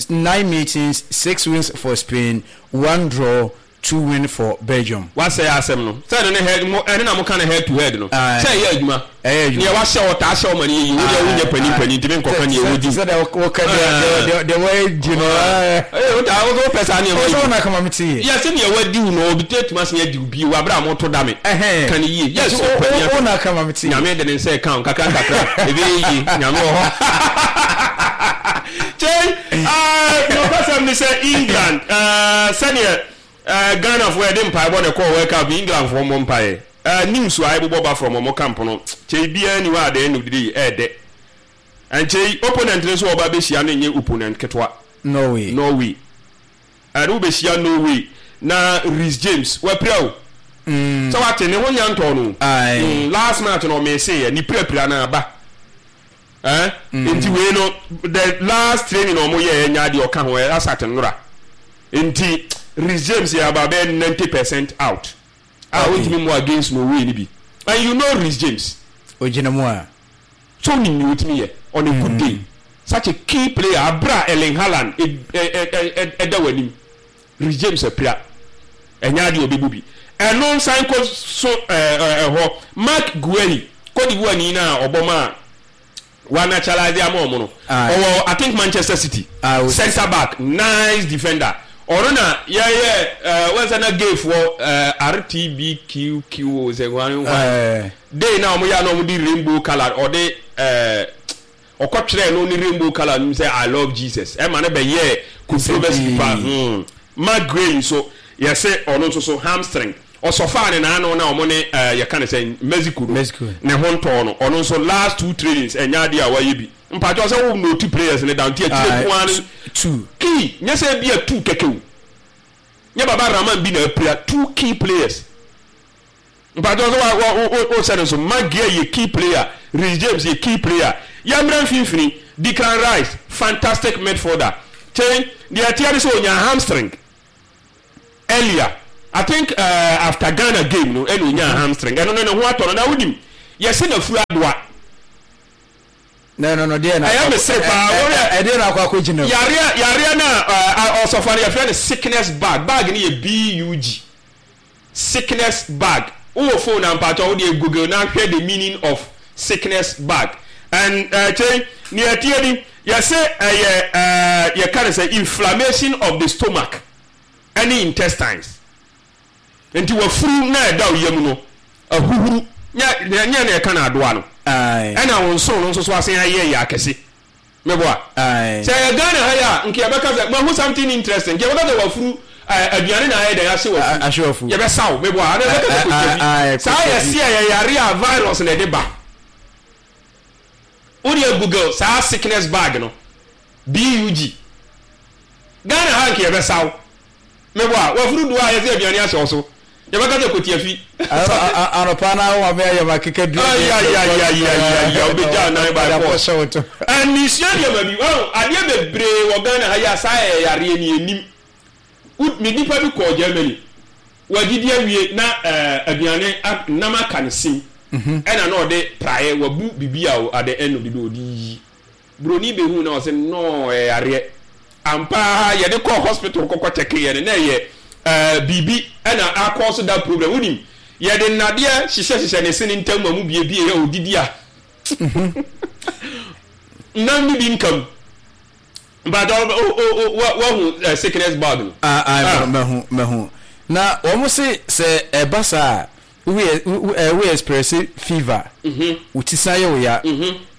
nine meetings, six wins for Spain, one draw, two win for Belgium. Wasɛe asɛm no sɛ ɛno ne head mo, ɛne na mo ka ne head to head no. Aye. Sɛ ɛyɛ adwuma. Ɛyɛ adwuma. Neɛ wahyɛ ɔtaa hyɛ ɔma no yɛ yie, wo deɛ wonyɛ panin panin ntumi nkɔka neɛ wodi. Sɛdeɛ wɔka deɛ deɛ deɛ wɔadi no. Ee, wota wopɛ saa nneɛma ɔsɛ yi. wɔn akama mi ti yɛ. Yɛ sɛ neɛ wadi wo no, obi tɛ tuma se adi wo bio abere a moto da me. Ɛhɛn. Ka ne yie, yes. Nti ɔpanin o o na akama mi ti yɛ. Nyame de ne nsa ɛka wo nkakra nkakra, ɛbɛyɛ yie. Nyame wɔ hɔ kyɛn. Nɔkɔsɛm ne sɛ England, eh, sɛdeɛ eh, Ghanafoɔ yɛde mpaebɔ ne kɔɔ World Cup, Englandfoɔ mmɔ mpaeɛ. Eh, news a ɛbobɔ ba from ɔmo camp no kyɛn biara ni hɔ. At the end of the day, ɛɛdɛ ɛnkyɛn opponent no nso a ɔba bɛhyia no nyɛ opponent ketewa. Norway. Norway ɛne wobɛhyia Norway na Reece James wapira o, Mm. sɛ wate ne ho nya ntɔ no. Aye. Mm, last match no ɔmɛse yɛ ne pirapira no aba. Eh? Nti wei no, the last training na ɔmo yɛ ɛnya deɛ ɔka ho ɛ asate nnora, nti Reece James yɛ about bɛyɛ ninety percent out a Okay. wontumi mu against Norway ni bi. And you know Reece James. Ogyina mu a. So onim nea otumi yɛ on a good day. Such a key player, abira Erling Haaland ɛda w'anim, Reece James apira, ɛnyɛ adeɛ ɔbɛbu bi. Ɛno nsan kɔ so ɛɛ ɛhɔ Marc Guehi, Cote d'Ivoire ni na ɔbɔ ma wa naturalize ama ɔmo no. Aye. Ɔwɔ, I think, Manchester City. Ah, o- Centre back, nice defender. Ɔno na yɛyɛ ɛɛ wɔn sɛ na gayfoɔ ɛɛ R T B Q Q sɛ wɔn Ɛɛ. day na ɔmo yɛ a na ɔmo de rainbow colour, ɔde ɛɛ ɔkɔtwerɛ no ne rainbow colour no sɛ "I love Jesus", ɛma no bɛyɛ controversy pa hmm Marc Guehi nso, yɛsɛ ɔno nso so hamstring ɔsɔfaa ne n'ano na ɔmo ne ɛɛ yɛka ne sɛ Mexico no. Mexico. Ne ho ntɔɔ no. Ɔno nso last two trainings, ɛnyɛ adeɛ a wayɛ bi. Mpatsɔ sɛ wo note players ne down ti akyire Aye. nko ara no. Two. Key nyɛ sɛ bi a two kɛkɛ o, nyɛ Baba Rahman bi na apira, two key players. Mpatsɔ sɛ wa wa o o sɛ no so Maguire yɛ key player, Reece James yɛ key player. Yɛmmerɛ mfimfini, Declan Rice, fantastic midfielder. Kyɛn deɛ ɛteɛ ne sɛ onya hamstring earlier, I think uh, after Ghana game no ɛna onya hamstring. Ɛno no ne ho atɔ no na wonim yɛsɛ na furu adoa. No no no deɛ na. Ɛyɛ me sere paa, wɔyɛ- Ɛdeɛ na akɔ akɔ gyina mu. Yareɛ yareɛ no a ɔsɔfo no yɛfrɛ no sickness bug. Bug no yɛ bug, sickness bug. Wowɔ phone na mpakyɛ wode Google na hwɛ the meaning of sickness bug. And kyɛn nea ɛteɛ ni, yɛsɛ ɛyɛ ɛɛ yɛka no sɛ inflammation of the stomach ɛne intestines. Nti wafuru na ɛda wo yam no ahuhuru, nyɛ nyɛ na yɛka no adoa no. Aye. Ɛna wo nsono no nso so asen ayɛ yɛ akɛse, meboa? Aye. Sɛ yɛ Ghana ha yi a, nka yɛbɛka sɛ mahu something interesting, nka yɛbɛka sɛ wafuru ɛɛ aduane na ayɛ dɛn ahye wafuru. A- ahye wafuru. Yɛbɛsaw, meboa? Ana yɛbɛka sɛ Aye, aye, kotwa bi saa. Kotwa bi. Yɛsi a yɛyare a virus na ɛde ba. Wodeɛ Google saa sickness bug no, bug. Ghana ha nka yɛbɛsaw, meboa? Wafuru do a yɛsɛ aduane ahyɛ wo so, yɛbɛka sɛ kotiafi. Anɔpa na awo maame ayɛ ma keka dua. Ayayayayaya, wobɛgya nan by force. Hyɛ wo to. Ɛnisua nneɛma bi ɔn adeɛ bebree wɔ Ghana ha yi a saa yɛ yareɛ ni anim. Wo me nipa bi kɔɔ Germany, wadidi awie na ɛɛ aduane a- nam aka ne sim, ɛna na ɔde praeɛ wabu bibi a o, at the end of the day ɔde yiyi. Broni behu na ɔsɛ nɔɔ ɛyɛ yareɛ ampa. Yɛde kɔɔ hospital kɔkɔ kyɛke yɛ no na ɛyɛ ɛɛ biribi ɛna akɔ so that problem. Wonim yɛde nnadeɛ hyehyɛ hyehyɛ ne se ne ntam ma mu biebie yɛ odidi a nam ne bi nkam. But wahu uh, sickness bug no? Ah, Ah. ah, mahu mahu na wɔn se sɛ ɛba saa a, woyɛ wo ɛ wo express fever, wo ti san yɛ wo ya,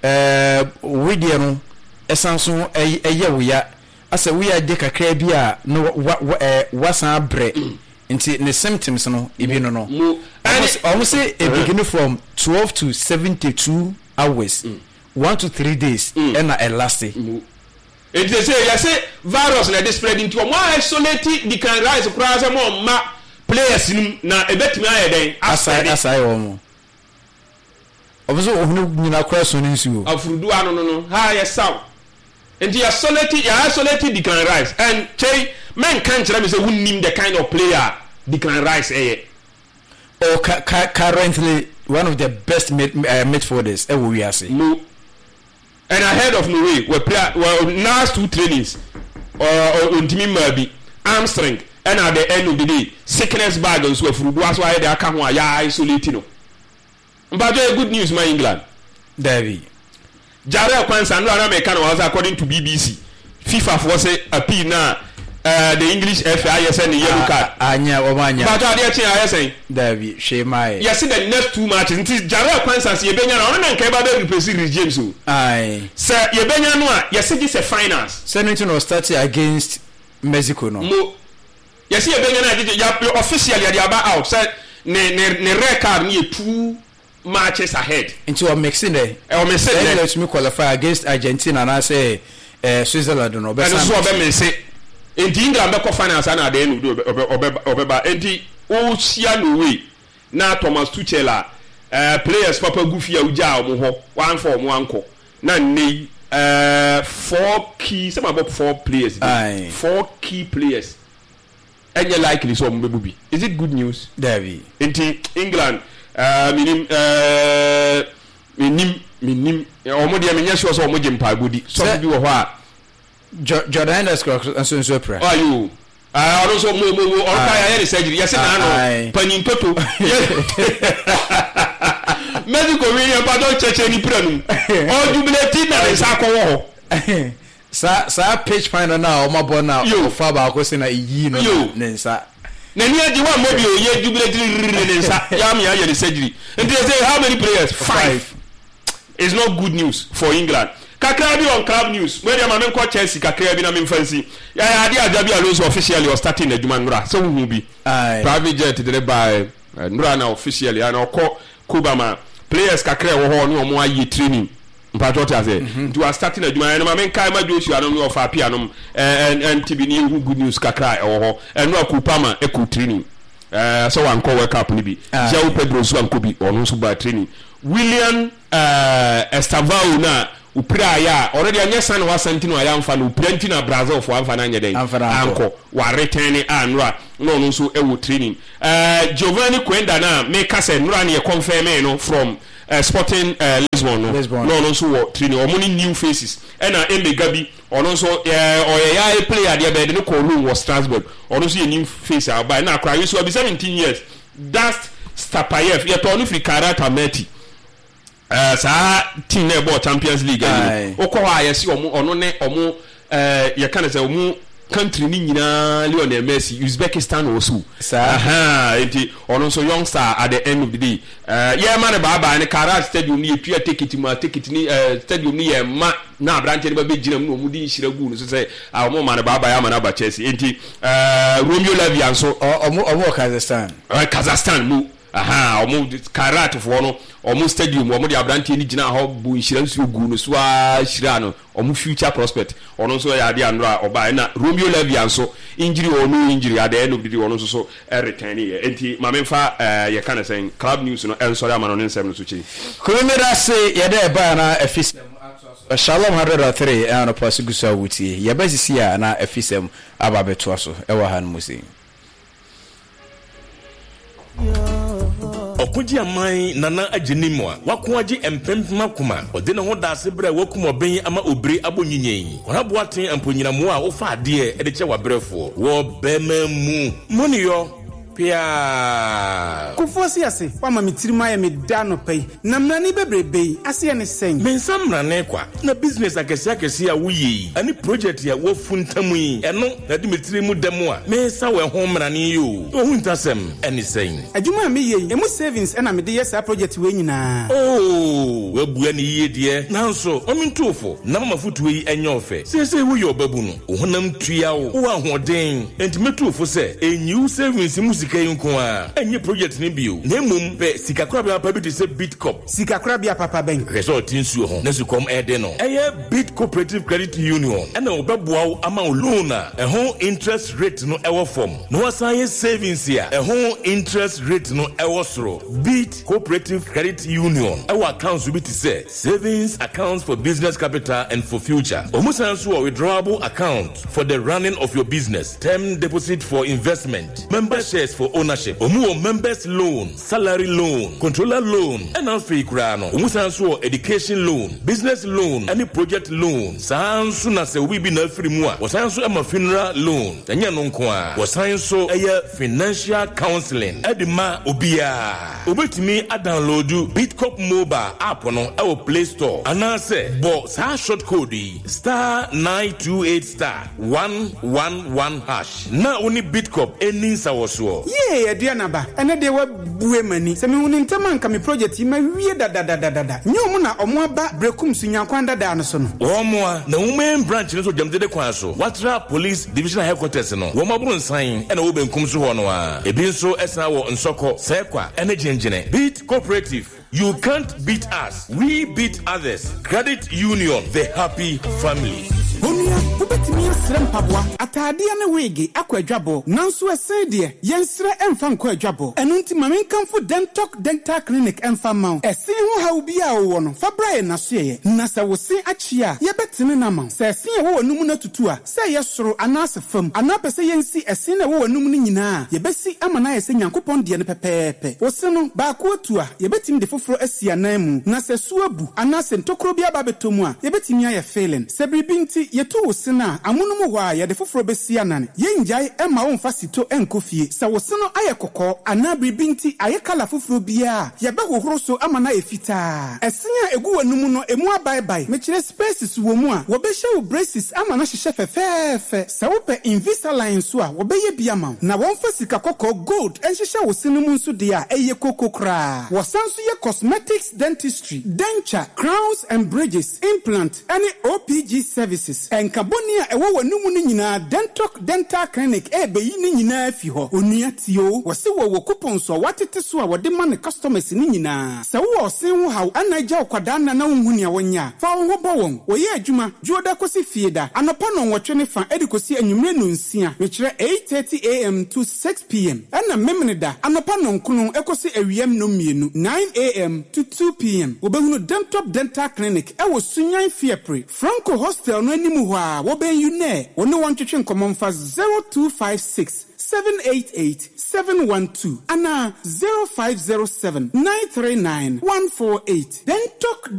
ɛɛ wedeɛ no ɛsan so ɛyɛ ɛyɛ wo ya. Asɛ woyɛ ade kakra bi a na wasan abrɛ, nti ne symptoms no ebi no no. Ɔmo se e begin from twelve to seventy two hours, one to three days ɛna ɛlase. Nti sɛ yɛse virus na ɛde spread, nti ɔmo isolate Declan Rice koraa sɛ mo ɔmma players no mu na ebetumi ayɛ dɛn? Asae asae wɔn. Ɔmo sɛ ɔhene nyina koraa so ne nsuo. Afurudu ano no no ha yɛ saw. Nti yɛ isolate yɛ isolate Declan Rice, and kyei mɛnka nkyerɛ mi sɛ wunnim the kind of player Declan Rice ɛyɛ. Oh, currently one of the best mid, uh, midfielders ɛwɔ wiase. No, and ahead of Norway wɔ play wɔ last two trainings, ɔntumi mmaa bi hamstring, ɛna at the end of the day sickness bag nso afurudu aso ayɛ de aka ho a yɛ isolate no. Mpatwa, yɛ good news ma England? Dabi. Jarell Quansah no ana meka no wɔ sɛ according to B B C, FIFA foɔ sɛ appeal na uh, the English F A ayɛ sɛ ne yellow card. Anya wɔn anya. Mpatwa, adeɛ kyen ayɛ sɛn? Dabi, hwee maa yɛ. Yɛsi the next two matches, nti Jarell Quansah sɛ yɛbɛnya no, ɔno na nka ɛba bɛ replace Reece James o. Ayi. Sɛ yɛbɛnya no a, yɛsi gye sɛ finals. Sɛ no nti na ɔstart against Mexico no. Mo yɛsi yɛbɛnya no a, gyegye ya officially yɛde aba out sɛ ne ne ne red card no yɛ two matches ahead. Nti ɔmix dɛ. Ɔmix dɛ. Sɛ ɛyɛ tumi qualify against Argentina anaasɛ ɛɛ Switzerland no, ɔbɛsan. Ɛno nso ɔbɛ miss, nti England bɛkɔ finals ana adeɛ no ɔbɛ ɔbɛ ɔbɛba. Nti ɔhyia Norway na Thomas Tuchel a ɛɛ players papa gu fie a wogyaa wɔn hɔ, wɔamfa wɔn ankɔ na nne yi ɛɛ four key, sɛ ma bɔ four players bi, four key players ɛnyɛ likely sɛ ɔmo bɛbu bi. Is it good news? Dabi. Nti England ɛɛ minim ɛɛ minim minim ɔmo deɛ, menyɛ sure sɛ ɔmo gye mpaebɔ di. Sɔfo bi wɔ hɔ a. Jordan Henderson nso nso apira. Ayo, ɔno nso mo mo mo ɔno kora yɛayɛ ne surgery, yɛsɛ n'ano panyin toto Mexico wi yɛn mpatɔ kyerɛkyerɛ ne pira no mu, ɔjubilate na ne nsa akɔwɔ hɔ. saa saa pitch final na ɔmo abɔ na ɔfa baako si na eyi no na ne nsa. N'ani agye wa mmɔ bi o, yɛ jubilate ne nsa yam yɛ ayɛ ne surgery. Nti yɛ sɛ how many players? Five. It's not good news for England. Kakra bi on club news. Mo deɛ, ma me nkɔ Chelsea kakra bi na me nfa nsi. Yɛyɛ ade a Xabi Alonso officially ɔstarting n'adwuma nnora sɛ wohu bi. Private jet de ne baa nnora na officially ana ɔkɔ Cuba ma players kakra ɛwɔ hɔ ne ɔmo ayɛ training. Mpatwɔ te ase. Nti wa starting adwuma ɛno, ma me nkae ma Joshua nom ne ɔfa Apia nom ɛɛ ɛnti bi ne yɛhu good news kakra ɛwɔ hɔ. Ɛno a Kupama ɛkɔ training. Ɛɛ sɛ wankɔ World Cup no bi. João Pedro nso ankɔ bi, ɔno nso baa training. William ɛɛ Estavao na opira ayɛ a, ɔno deɛ nyɛ san na wasan nti na wayɛ amfa no, opira nti na Brazil fo amfa no anyɛ dɛn ankɔ waretɛn ne a nnora na ɔno nso ɛwɔ training. ɛɛ Giovanni Quenda na meka sɛ nnora ne yɛ confirm no from uh, Sporting uh, Lisbon no, na ɔno nso wɔ training. Ɔmo ne new faces. Ɛna Emega bi, ɔno nso ɛɛ ɔyɛ ya player deɛ bɛyɛ de ne kɔɔ loan wɔ Strasbourg, ɔno nso yɛ new face a ɔba. Ɛna akora yi nso ɔbi seventeen years, Dast Stapayev, yɛtɔɔ no firi Kairat Almaty, ɛɛ saa team na ɛbɔɔ Champions League ayi no. Wokɔ hɔ a, yɛsi ɔmo ɔno ne ɔmo ɛɛ yɛka ne sɛ ɔmo country ne nyinaa Lionel Messi, Uzbekistan wɔ so saa, nti ɔno nso youngster. At the end of the day, ɛɛ yɛma no baabaa ne Kairat Stadium ne yɛtua ticket mu a ticket ne ɛɛ stadium ne yɛ ma na aberanteɛ no ba bɛ gyina mu na ɔmo de nhyira gu no so sɛ a ɔmo ma no baabaa ama no aba Chelsea. Nti ɛɛ Romeo Lavia nso. Ɔmo ɔmo wɔ Kazakhstan. Ɛɛ Kazakhstan mu aha, ɔmo Kairat foɔ no, ɔmo stadium, ɔmo de aberanteɛ no gyina hɔ bu nhyira nsuo gu no so a hyira no, ɔmo future prospect. Ɔno nso yɛ adeɛ anora ɔbaa. Ɛna Romeo Lavia nso, injury or no injury, at the end of the day ɔno nso so ɛreturn yɛ. Nti maame nfa ɛɛ yɛka ne sɛn club news no ɛnsɔre ama no ne nsɛm no so kyi. Kumi se yɛde ɛbaa na ɛfi sɛm Shalom hundred and three ɛna nɔpa so gu so a wotie yɛbɛ sisi a na ɛfi sɛm aba abɛtoa so ɛwɔ ha no mu sei. Ɔkogye aman nana agye nim a wako agye mpempem akoma, ɔde ne ho da ase berɛ a wakum ɔbɛn ama obire abɔ nyinyɛn kɔnaboaten amponyinamoa a wofa adeɛ de kyɛ w'abrɛfoɔ wɔ bɛrima mu moneyɔ. Piaa. Kofoɔ si ase wama me tirim ayɛ me da anɔpa yi na mmerane bebrebe yi aseɛ ne sɛn? Me nsa mmerane kwa na business akɛseɛ akɛseɛ a woyɛ yi ɛne project a woafuntam yi, ɛno na de me tiri mu dɛm a mensa wɔ ɛho mmerane yi o. Ohu ntasɛm ɛne sɛn? Adwuma a meyɛ yi, emu savings ɛna mede yɛ saa project wei nyinaa. Oo, wabua ne yie deɛ, nanso ɔmentofo na mama fotuo yi ɛnyɛ ɔfɛ. Seesei woyɛ ɔbabu no, wo honam tua wo, wowɔ ahoɔden, enti mɛtofo sɛ ɛnyi wo savings mu sika yi nko a ɛnyɛ project no bio, na mmom pɛ sikakorabea papa bi te sɛ Bitcop. Sikakorabea papa bɛn? Hwɛ sɛ ɔte nsuo ho na sukɔm ɛde no, ɛyɛ Bit Cooperative Credit Union, ɛna wɔbɛboa wo ama wo loan a ɛho interest rate no ɛwɔ fam, na wasan yɛ savings a ɛho interest rate no ɛwɔ soro. Bit Cooperative Credit Union ɛwɔ accounts bi te sɛ savings accounts for business capital and for future. Ɔmo san so wɔ withdrawable account for the running of your business, term deposit for investment, member shares for ownership. Ɔmo wɔ members loan, salary loan, controller loan, ɛna afei koraa no ɔmo san so wɔ education loan, business loan ɛne project loan. Saa nso na sɛ obi bi na afiri mu a, wɔsan so ɛma funeral loan. Ɛnyɛ no nko a, wɔsan so ɛyɛ financial counseling ɛde ma obiara. Obetumi adownload Bitcop mobile app no ɛwɔ Play Store anaasɛ bɔ saa short code yi, star nine two eight star one one one hash, na wo ne Bitcop ɛni nsawɔsoɔ. Yee, Aduanaba, ɛnɛ deɛ wabue m'ani sɛ mehu ne ntɛm anka me project yi mawie dadadadada. Nyɛ ɔmo na ɔmo aba Brekum so nyankwan dadaa no so no? Wɔn a na wɔn main branch no so Gyamdede kwan so, Watra Police Divisional Headquarters no, wɔn aboro nsan ɛna wɔ benkum so hɔ no a, ebi nso ɛsan wɔ Nsɔkɔ, Sɛkwa ɛne Gyingyine. Bit Cooperative, you can't beat us, we beat others. Credit Union, the happy family. Onua, wobɛtumi asrɛ mpaboa, ataadeɛ ne wig akɔ adwabɔ, nanso ɛsen deɛ yɛnsrɛ ɛmfa nkɔ adwabɔ. Ɛno nti ma menkamfo Dentok Dental Clinic ɛmfa mma wo. Ɛsen ho haw bi a wowɔ no, fa bra yɛ n'asoɛyɛ, na sɛ wo se akyi a, yɛbɛtene no ama wo. Sɛ ɛsen a ɛwɔ w'anum no atutu a, sɛ ɛyɛ soro anaasɛ fam, anaa pɛ sɛ yɛnsi ɛsen no a ɛwɔ w'anum no nyinaa a, yɛbɛsi ama no ayɛ sɛ Nyankopɔn deɛ no pɛpɛɛpɛ. Wo se no baako atu a, yɛbɛtumi de foforɔ asi anan mu, na sɛ su abu anaasɛ ntokuro bi aba abɛtɔ mu a, yɛbɛtumi ayɛ filling. Sɛ biribi nti yɛtu wo se no a, amonom hɔ a yɛde foforɔ bɛsi anan. Yɛngyae ɛma wo mfa sito ɛnkɔ fie. Sɛ wo se no ayɛ kɔkɔɔ anaa biribi nti ayɛ colour foforɔ biara a, yɛbɛhohoro so ama no ayɛ fitaa. Ɛsen a ɛgu w'anum no emu abaebae, mekyerɛ spaces wɔ mu a, wɔbɛhyɛ wo braces ama no ahyehyɛ fɛfɛɛfɛ. Sɛ wopɛ Invisalign nso a, wɔbɛyɛ bi ama wo, na wɔmfa sika kɔkɔɔ, gold, nhyehyɛ wo se no mu nso deɛ a, ɛyɛ koko koraa. Wɔsan so yɛ cosmetics dentistry, denture, crowns and bridges, implant ɛne O P G services. Ɛnka bɔne a ɛwɔ w'anum no nyinaa, Dentok Dental Clinic ɛɛbɛyi ne nyinaa fi hɔ. Onua, tie o, wɔse wɔwɔ coupons a wɔatete so a wɔde ma ne customers ne nyinaa. Sɛ wowɔ ɔsen ho haw ana agya wo kwadaa nna na wonhu nea wɔnyɛ a, fa wo ho bɔ wɔn. Wɔyɛ adwuma Dwoɔda kɔsi Fieda anɔpa nɔnwɔtwe ne fa ɛde kɔsi anwummerɛ nonsia, mekyerɛ eight thirty a m to six p m, ɛna Memeneda anɔpa nɔnkono ɛkɔsi awiam nnɔmmienu, nine a m to two p m. Wɔbɛhunu Dentop Dental Clinic ɛwɔ Sunyan Fiapre, Franco Hostel no anim hɔ a wɔbɛn UNE. Wɔne wɔn twetwe nkɔmmɔ mfa zero two five six seven eight eight seven one two anaa zero five zero seven nine three nine one four eight. Dentok.